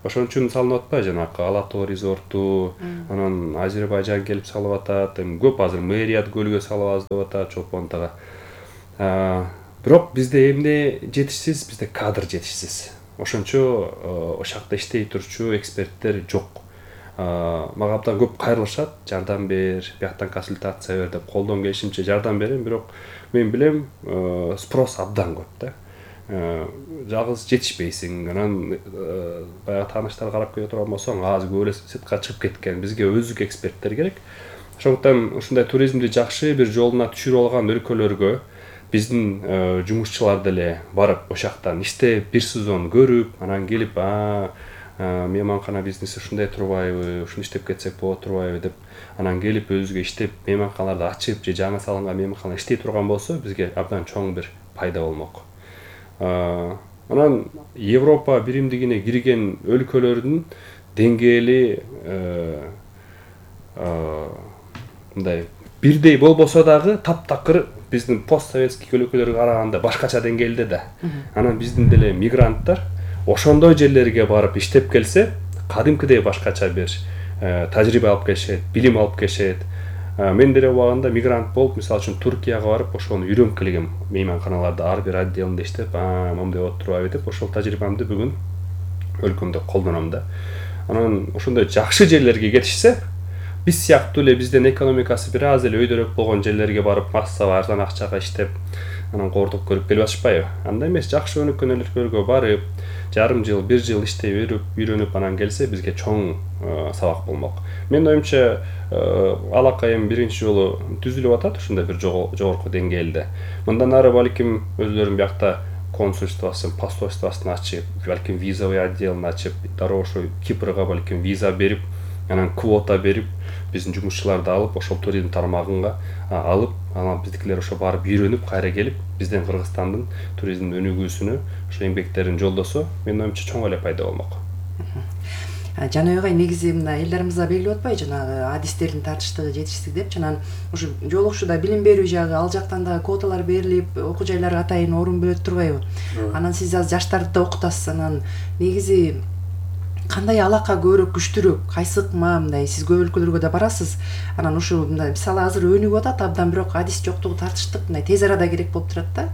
[SPEAKER 10] Ошон үчүн салынып атпайбы жанакы Алатоо резорту, анан Азербайжан келип салып атат, эми көп азыр Мэрият көлгө салабыз деп атат, Чолпонтага. Бирок бизде эмне жетишсиз, бизде кадр жетишсиз. Ошончо ошол жакта иштей турчу эксперттер жок. Мага абдан көп кайрылышат, жардам бер, бияктан консультация бер деп, колдон келишимче жардам берем, бирок мен билем спрос абдан көп да. Жалгыз жетишпейсиң. Анан баягы тааныштар карап келе турган болсоң, азыр көп эле сыртка чыгып кеткен. Бизге өздүк эксперттер керек. Ошондуктан ушундай туризмди жакшы бир жолуна түшүрүп алган өлкөлөргө биздин жумушчулар деле барып ошол жактан иштеп, бир сезон көрүп, анан келип, а мейманкана бизнеси ушундай турбайбы, ушуну иштеп кетсек болот турбайбы деп, анан келип өзүгө иштеп, мейманканаларды ачып же жаңы салынган мейманкана иштей турган болсо, бизге абдан чоң бир пайда болмок. Анан Европа биримдигине кирген өлкөлөрдүн деңгээли мындай бирдей болбосо дагы таптакыр биздин постсоветский өлкөлөргө караганда башкача деңгээлде да. Анан биздин деле мигранттар ошондой жерлерге барып иштеп келсе, кадимкидей башкача бир тажрыйба алып келишет, билим алып келишет. Мен деле убагында мигрант болуп, мисалы үчүн Туркияга барып, ошону үйрөнүп келгем. Мейманканаларда ар бир отделинде иштеп, а моундай болуп турбайбы деп, ошол тажрыйбамды бүгүн өлкөмдө колдоном да. Анан ошондой жакшы жерлерге кетишсе, биз сыяктуу эле биздин экономикасы бир аз эле өйдөрөөк болгон жерлерге барып, массага арзан акчага иштеп, анан коордук көрүп келип атышпайбы? Андай эмес, жакшы өнүккөн өлкөлөргө барып, жарым жыл, бир жыл иштей берип, үйрөнүп анан келсе, бизге чоң сабак болмок. Менин оюмча, алакайым биринчи жолу түзүлүп атат ушундай бир жогорку деңгээлде. Мындан ары балким өзлөрүн биякта консульствосын, посольствосын ачып, балким визовый отделин ачып, дароо ошо Кипрга балким виза берип, анан квота берип, биздин жумушчуларды алып, ошол туризм тармагынга алып, анан биздикилер ошо барып үйрөнүп, кайра келип, биздин Кыргызстандын туризмдин өнүгүүсүнө ошо эмгектерин жолдосо, менин оюмча чоң эле пайда болмок.
[SPEAKER 8] Жана эгай негизи мына элдерибизге белгилеп атпайбы, жанагы адистердин тартыштыгы, жетишсиздик депчи, анан ушу жолугушууда билим берүү жагы, ал жактан дагы квоталар берилип, окуу жайларга атайын орун бөлөт турбайбы? Анан сиз азыр жаштарды да окутасыз, анан негизи кандай алака көбүрөөк күчтүүрөөк, кайсы ыкма, мындай сиз көп өлкөлөргө да барасыз. Анан ушу мындай мисалы азыр өнүгүп атат абдан, бирок адис жоктугу тартыштык мындай тез арада керек болуп турат да.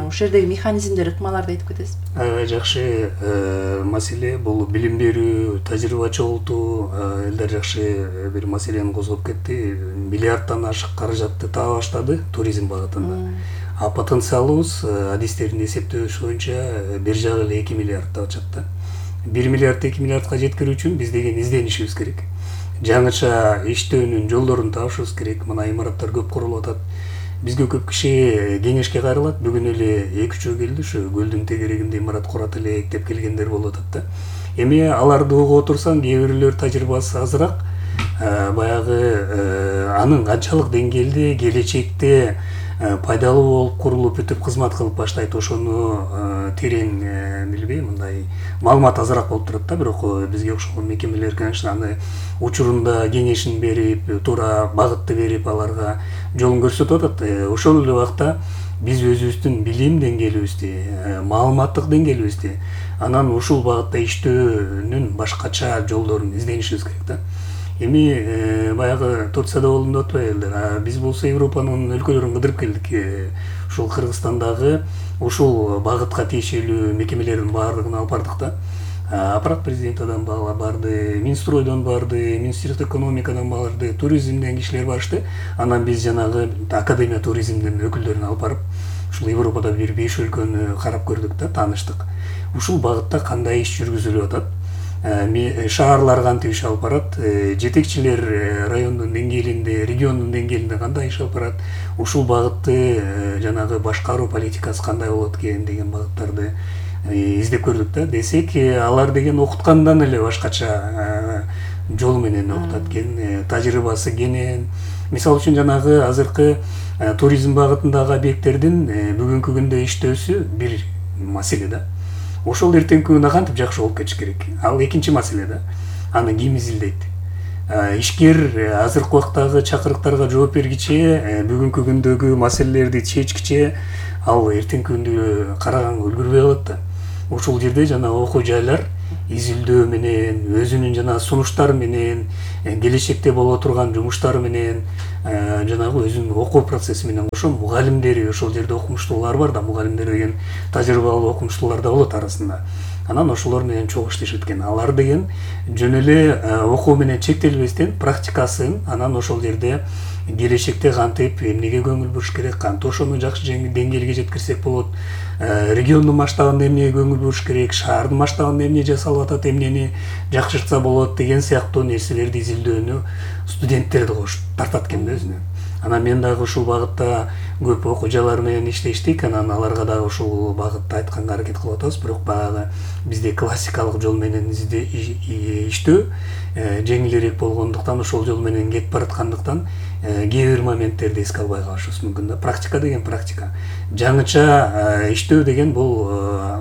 [SPEAKER 8] Ошол жердеги механизмдер, ыкмаларды айтып кетесизби?
[SPEAKER 9] Аябай жакшы маселе, бул билим берүү, тажрыйба чогултуу, элдер жакшы бир маселени козгоп кетти. Миллиарддан ашык каражатты таба баштады туризм багытында. А потенциалыбыз адистердин эсептөөсү боюнча бир жагы эле эки миллиард деп атышат да. бир миллиард эки миллиардга жеткирүү үчүн биз деген изденишибиз керек. Жаңыча иштөөнүн жолдорун табышыбыз керек. Мына имараттар көп курулуп атат. Бизге көп киши кеңешке кайрылат. Бүгүн эле эки үчөө келди, ушу көлдүн тегерегинде имарат курат элек деп келгендер болуп атат да. Эми аларды угуп отурсаң, кээ бирлер тажрыйбасы азыраак, баягы анын канчалык деңгээлде келечекте пайдалуу болуп курулуп бүтүп кызмат кылып баштайт, ошону терең билбейм, мындай маалымат азыраак болуп турат да. Бирок бизге окшогон мекемелер, конечно, аны учурунда кеңешин берип, туура багытты берип, аларга жолун көрсөтүп атат. Ошол эле убакта биз өзүбүздүн билим деңгээлибизди, маалыматтык деңгээлибизди, анан ушул багытта иштөөнүн башкача жолдорун изденишибиз керек да. Эми баягы Турцияда болду деп атпайбы, биз болсо Европанын өлкөлөрүн кыдырып келдик. Ушул Кыргызстандагы ушул багытка тиешелүү мекемелердин баардыгын алып бардык да. Аппарат президентадан барды, Минстройдон барды, Министрлик экономикадан барды, туризмден кишилер барышты. Анан биз жанагы Академия туризмдин өкүлдөрүн алып барып, ушул Европада бир беш өлкөнү карап көрдүк да, тааныштык. Ушул багытта кандай иш жүргүзүлүп атат, шаарлар кантип иш алып барат, жетекчилер райондун деңгээлинде, региондун деңгээлинде кандай иш алып барат, ушул багытты жанагы башкаруу политикасы кандай болот экен деген багыттарды издеп көрдүк да. Десек, алар деген окуткандан эле башкача жол менен окутат экен, тажрыйбасы кенен. Мисалы үчүн жанагы азыркы туризм багытындагы объекттердин бүгүнкү күндө иштөөсү бир маселе да. Ошол эртеңки күнүнө кантип жакшы болуп кетиш керек? Ал экинчи маселе да. Аны ким изилдейт? Ишкер азыркы убактагы чакырыктарга жооп бергиче, бүгүнкү күндөгү маселелерди чечкиче, ал эртеңки күндө караганга үлгүрбөй калат да. Ошол жерде жана окуу жайлар изилдөө менен, өзүнүн жана сунуштары менен, келечекте боло турган жумуштары менен, жанагы өзүнүн окуу процесси менен кошо мугалимдери, ошол жерде окумуштуулар бар да, мугалимдер деген тажрыйбалуу окумуштуулар да болот арасында. Анан ошолор менен чогуу иштешет экен. Алар деген жөн эле окуу менен чектелбестен практикасын, анан ошол жерде келечекте кантип эмнеге көңүл буруш керек, кантип ошону жакшы деңгээлге жеткирсек болот, региондун масштабында эмнеге көңүл буруш керек, шаардын масштабында эмне жасалып атат, эмнени жакшыртса болот деген сыяктуу нерселерди изилдөөнү студенттерди кош тартат экен да өзүнө. Анан мен дагы ушул багытта көп окуу жайлар менен иштештик, анан аларга дагы ушул багытта айтканга аракет кылып атабыз. Бирок баягы бизде классикалык жол менен иштөө жеңилирээк болгондуктан, ошол жол менен кетип бараткандыктан кээ бир моменттерди эске албай калышыбыз мүмкүн да. Практика деген практика. Жаңыча иштөө деген бул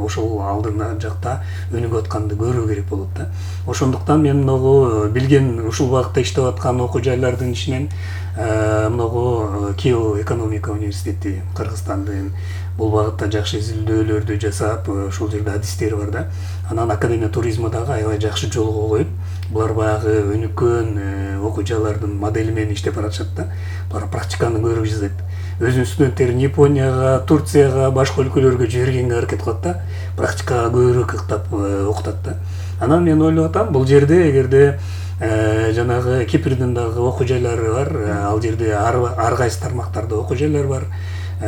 [SPEAKER 9] ошол алдыңда жакта өнүгүп атканды көрүү керек болот да. Ошондуктан мен могу билген ушул багытта иштеп аткан окуу жайлардын ичинен многу Киев экономика университети Кыргызстандын бул багытта жакшы изилдөөлөрдү жасап, ошол жерде адистери бар да. Анан Академия туризма дагы аябай жакшы жолго коюп, булар баягы өнүккөн окуу жайлардын модели менен иштеп баратышат да. Булар практиканы көрүп жасайт. Өзүнүн студенттерин Японияга, Турцияга, башка өлкөлөргө жибергенге аракет кылат да. Практикага көбүрөөк ыктап окутат да. Анан мен ойлоп атам, бул жерде эгерде жанагы Кипрдин дагы окуу жайлары бар, ал жерде ар кайсы тармактарда окуу жайлар бар.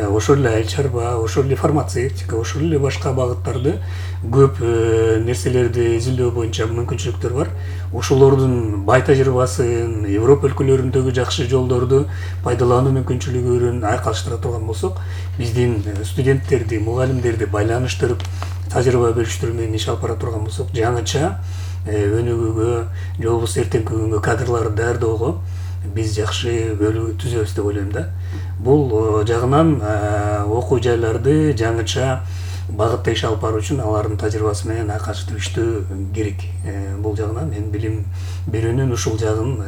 [SPEAKER 9] Ошол эле айыл чарба, ошол эле фармацевтика, ошол эле башка багыттарды көп нерселерди изилдөө боюнча мүмкүнчүлүктөр бар. Ошолордун бай тажрыйбасын, Европа өлкөлөрүндөгү жакшы жолдорду пайдалануу мүмкүнчүлүгүн айкалыштыра турган болсок, биздин студенттерди, мугалимдерди байланыштырып, тажрыйба бөлүштүрүү менен иш алып бара турган болсок, жаңыча өнүгүүгө, же болбосо эртеңки күнгө кадрларды даярдоого биз жакшы бөлүү түзөбүз деп ойлойм да. Бул жагынан окуу жайларды жаңыча багытта иш алып баруу үчүн алардын тажрыйбасы менен айкалыштырып иштөө керек. Бул жагынан мен билим берүүнүн ушул жагын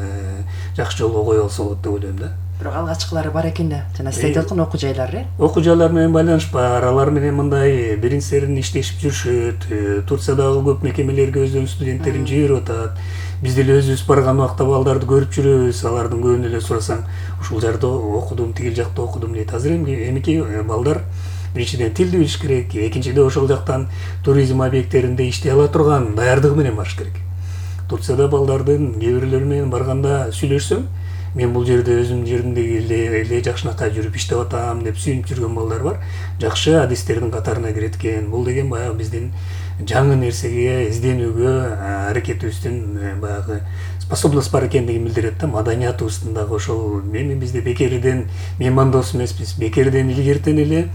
[SPEAKER 9] жакшы жолго коюп алса болот деп ойлойм да.
[SPEAKER 8] Бирок алгачкылары бар экен да. Жана сиз айтып аткан окуу жайлар, э?
[SPEAKER 9] Окуу жайлар менен байланыш бар. Алар менен мындай бирин-серин иштешип жүрүшөт. Турциядагы көп мекемелерге өздөрүнүн студенттерин жиберип атат. Биз деле өзүбүз барган убакта балдарды көрүп жүрөбүз. Алардын көбүнө эле сурасаң, ушул жерде окудум, тигил жакта окудум дейт. Азыр эмики балдар биринчиден тилди билиш керек, экинчиден ошол жактан туризм объекттеринде иштей ала турган даярдыгы менен барыш керек. Турцияда балдардын кээ бирлери менен барганда сүйлөшсөм, мен бул жерде өзүмдүн жеримдеги эле жакшынакай жүрүп иштеп атам деп сүйүнүп жүргөн балдар бар. Жакшы адистердин катарына кирет экен. Бул деген баягы биздин жаңы нерсеге изденүүгө аракетибиздин баягы способность бар экендигин билдирет да. Маданиятыбыздын дагы ошол эми бизде бекерден меймандос эмеспиз. Бекерден илгертен эле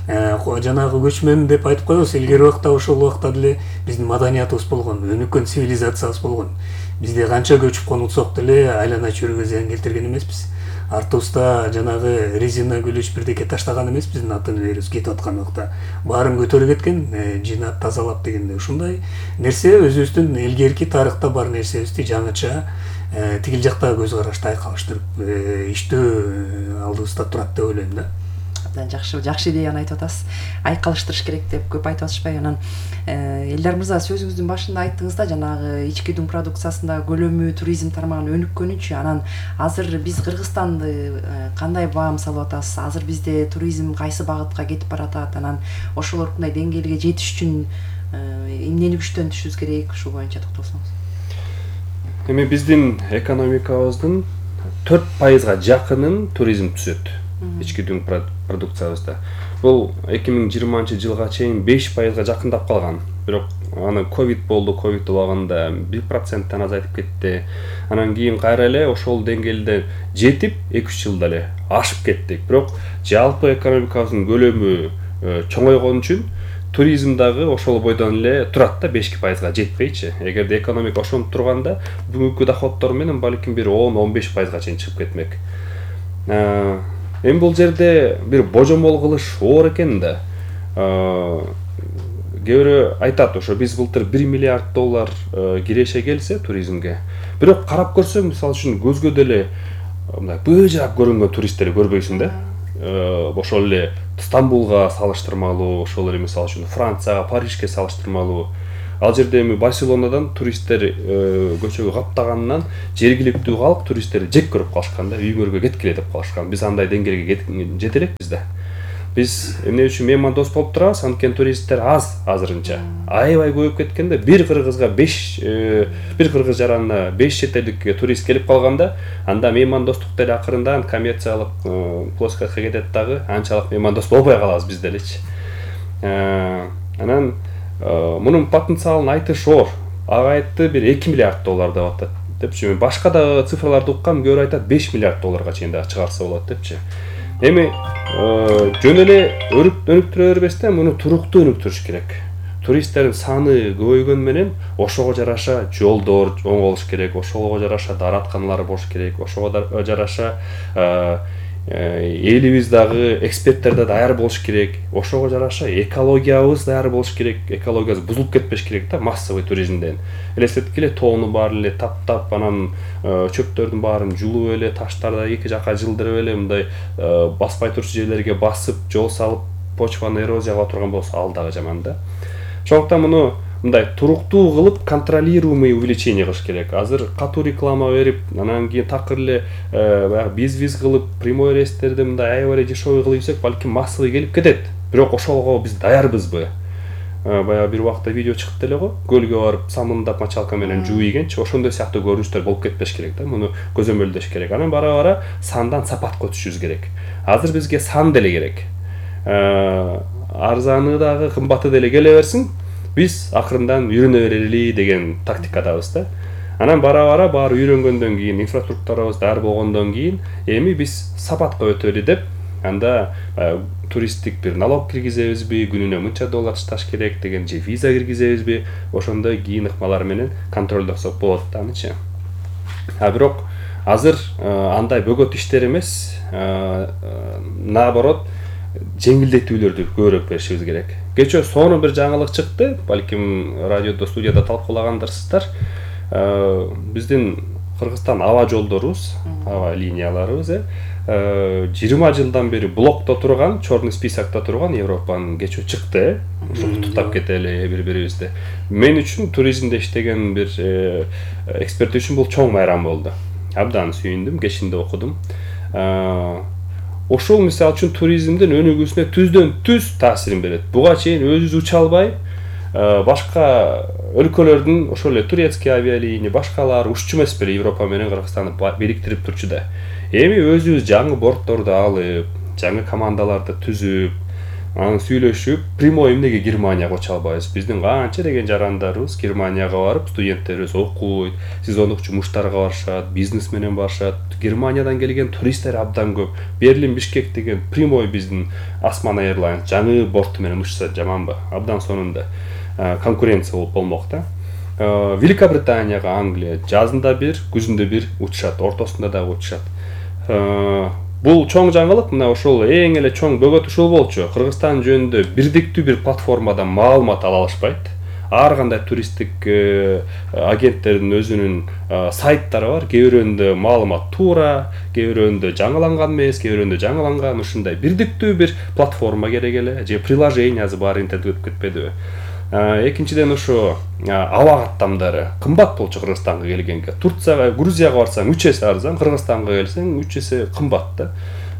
[SPEAKER 9] жанагы көчмөн деп айтып коебуз. Илгери убакта ошол убакта деле биздин маданиятыбыз болгон, өнүккөн цивилизациябыз болгон. Бизде канча көчүп конутсок деле айлана чөйрөгө зыян келтирген эмеспиз. артыбызда жанагы резина күлүч бирдеке таштаган эмес, биздин ата энелерибиз кетип аткан убакта баарын көтөрүп кеткен, жыйнап тазалап дегенде ушундай нерсе өзүбүздүн элгерки тарыхта бар нерсебизди жаңыча тигил жакта көз карашты айкалыштырып иштөө алдыбызда турат деп ойлойм да.
[SPEAKER 8] Абдан жакшы, жакшы идеяны айтып атасыз. Айкалыштырыш керек деп көп айтып атышпайбы? Анан Элдар мырза, сөзүңүздүн башында айттыңыз да, жанагы ички дүң продукциясында көлөмү, туризм тармагын өнүккөнүчү. Анан азыр биз Кыргызстанды кандай баам салып атасыз? Азыр бизде туризм кайсы багытка кетип баратат? Анан ошолордундай деңгээлге жетиш үчүн эмнени күчтөнтүшүбүз керек? Ушул боюнча токтолсоңуз.
[SPEAKER 10] Эми биздин экономикабыздын төрт пайызга жакынын туризм түзөт. Ички дүң продукциябызда. Бул эки миң жыйырманчы жылга чейин беш пайызга жакындап калган. Бирок аны ковид болду, ковид убагында бир проценттен азайтып кетти. Анан кийин кайра эле ошол деңгээлде жетип, эки үч жылда эле ашып кеттик. Бирок жалпы экономикабыздын көлөмү чоңойгон үчүн туризм дагы ошол бойдон эле турат да, беш пайызга жетпейчи. Эгерде экономика ошонуп турганда, бүгүнкү доходдор менен балким бир он он беш пайызга чейин чыгып кетмек. Эми бул жерде бир божомол кылыш оор экен да. Кээ бирөө айтат, ошо биз былтыр бир миллиард доллар киреше келсе туризмге. Бирок карап көрсөң, мисалы үчүн көзгө деле мындай быжырап көрүнгөн туристтерди көрбөйсүң да. Ошол эле Стамбулга салыштырмалуу, ошол эле мисалы үчүн Францияга, Парижге салыштырмалуу. Ал жерде эми Барселонадан туристтер көчөгө каптаганынан жергиликтүү калк туристтерди жек көрүп калышкан да, үйүңөргө кеткиле деп калышкан. Биз андай деңгээлге жете элекпиз да. Биз эмне үчүн меймандос болуп турабыз? Анткени туристтер аз азырынча. Аябай көбөйүп кеткенде бир кыргызга беш бир кыргыз жаранына беш чет элдик турист келип калганда, анда меймандостук деле акырындан коммерциялык плоскостька кетет дагы, анчалык меймандос болбой калабыз биз делечи. Анан мунун потенциалын айтыш оор. Ага айтты бир эки миллиард доллар деп атат депчи. Башка да цифрларды уккам, көбүрөөк айтат беш миллиард долларга чейин да чыгарса болот депчи. Эми жөн эле өнүктүрө бербестен муну туруктуу өнүктүрүш керек. Туристтердин саны көбөйгөн менен ошого жараша жолдор оң болуш керек, ошого жараша дааратканалар болуш керек, ошого жараша элибиз дагы эксперттер да даяр болуш керек, ошого жараша экологиябыз даяр болуш керек, экологиябыз бузулуп кетпеш керек да массовый туризмден. Элестеткиле, тоону баарын эле таптап, анан чөптөрдүн баарын жулуп эле, таштарды эки жака жылдырып эле мындай баспай турчу жерлерге басып, жол салып, почваны эрозия кыла турган болсо ал дагы жаман да. Ошондуктан муну мындай туруктуу кылып контролируемый увеличение кылыш керек. Азыр катуу реклама берип, анан кийин такыр эле баягы биз-биз кылып, прямой рейстерди мындай аябай дешевый кылып ийсек, балким массовый келип кетет. Бирок ошого биз даярбызбы? Баягы бир убакта видео чыкты эле го, көлгө барып самындап мочалка менен жууп ийгенчи, ошондой сыяктуу көрүнүштөр болуп кетпеш керек да. Муну көзөмөлдөш керек. Анан бара-бара сандан сапатка өтүшүбүз керек. Азыр бизге сан деле керек. Арзаны дагы, кымбаты деле келе берсин. Биз акырындан үйрөнө берели деген тактикадабыз да. Анан бара-бара баары үйрөнгөндөн кийин, инфраструктурабыз даяр болгондон кийин, эми биз сапатка өтөлү деп, анда туристтик бир налог киргизебизби, күнүнө мынча доллар ташташ керек деген же виза киргизебизби, ошондой кийин ыкмалар менен контролдосок болот да анычы. А бирок азыр андай бөгөт иштер эмес, наоборот, жеңилдетүүлөрдү көбүрөөк беришибиз керек. Кечээ сонун бир жаңылык чыкты, балким радиодо, студияда талкуулагандарсыздар. Биздин Кыргызстан аба жолдорубуз, аба линияларыбыз жыйырма жылдан бери блокто турган, черный списокто турган Европанын кечөө чыкты. Ошо туттап кетели бири-бирибизди. Мен үчүн туризмде иштеген бир эксперт үчүн бул чоң майрам болду. Абдан сүйүндүм, кечинде окудум. Ошол мисалы үчүн туризмдин өнүгүүсүнө түздөн түз таасирин берет. Буга чейин өзүбүз уча албай, башка өлкөлөрдүн ошол эле турецкий авиалиния, башкалар уччу эмес беле Европа менен Кыргызстанды бириктирип турчу да. Эми өзүбүз жаңы бортторду алып, жаңы командаларды түзүп, анан сүйлөшүп, прямой эмнеге Германияга уча албайбыз? Биздин канча деген жарандарыбыз Германияга барып, студенттерибиз окуйт, сезондук жумуштарга барышат, бизнес менен барышат. Германиядан келген туристтер абдан көп. Берлин, Бишкек деген прямой биздин Osman Airlines жаңы борту менен учса жаманбы? Абдан сонунда конкуренция болуп болмок да. Великобританияга, Англия жазында бир, күзүндө бир учушат, ортосунда дагы учушат. бул чоң жаңылык. Мына ошол эң эле чоң бөгөт ушул болчу. Кыргызстан жөнүндө бирдиктүү бир платформадан маалымат ала алышпайт. Ар кандай туристтик агенттердин өзүнүн сайттары бар. Кээ бирөөндө маалымат туура, кээ бирөөндө жаңыланган эмес, кээ бирөөндө жаңыланган. Ушундай бирдиктүү бир платформа керек эле, же приложениясы бар интернетке өтүп кетпедиби? Экинчиден ошо аба каттамдары кымбат болчу Кыргызстанга келгенге. Турцияга, Грузияга барсаң үч эсе арзан, Кыргызстанга келсең үч эсе кымбат да.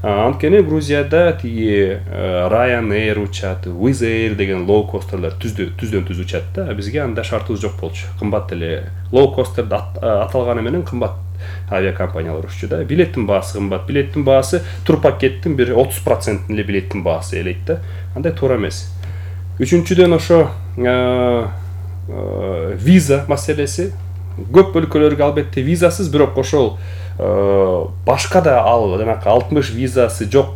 [SPEAKER 10] Анткени Грузияда тиги Ryanair учат, Wizz Air деген лоу-костерлер түздөн түз учат да. Бизге андай шартыбыз жок болчу. Кымбат эле лоу-костер аталганы менен кымбат авиакомпаниялар уччу да. Билеттин баасы кымбат. Билеттин баасы турпакеттин бир отуз процентин эле билеттин баасы элейт да. Андай туура эмес. Үчүнчүдөн ошо виза маселеси. Көп өлкөлөргө албетте визасыз, бирок ошол башка да ал жанакы алтымыш визасы жок,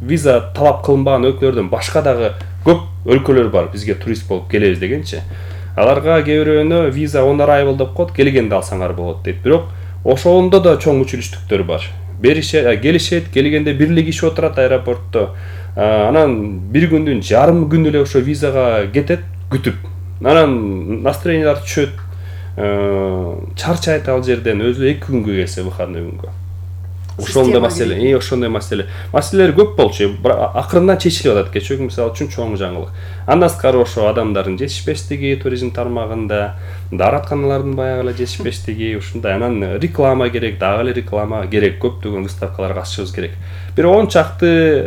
[SPEAKER 10] виза талап кылынбаган өлкөлөрдөн башка дагы көп өлкөлөр бар бизге турист болуп келебиз дегенчи. Аларга кээ бирөөнө виза он arrival деп коет, келгенде алсаңар болот дейт. Бирок ошондо да чоң училиштиктөр бар. Беришет, келишет, келгенде бирлик киши отурат аэропортто. Анан бир күндүн жарым күн эле ошо визага кетет, күтүп. Анан настроениялар түшөт. Чарчайт ал жерден, өзү эки күнгө келсе выходной күнгө. Ошондой маселе, э, ошондой маселе. Маселелер көп болчу, акырындан чечилип атат. Кечээ мисалы үчүн чоң жаңылык. Андан сырткары ошо адамдардын жетишпештиги, туризм тармагында, дааратканалардын баягы эле жетишпештиги, ушундай. Анан реклама керек, дагы эле реклама керек, көптөгөн выставкаларга катышыбыз керек. Бир он чакты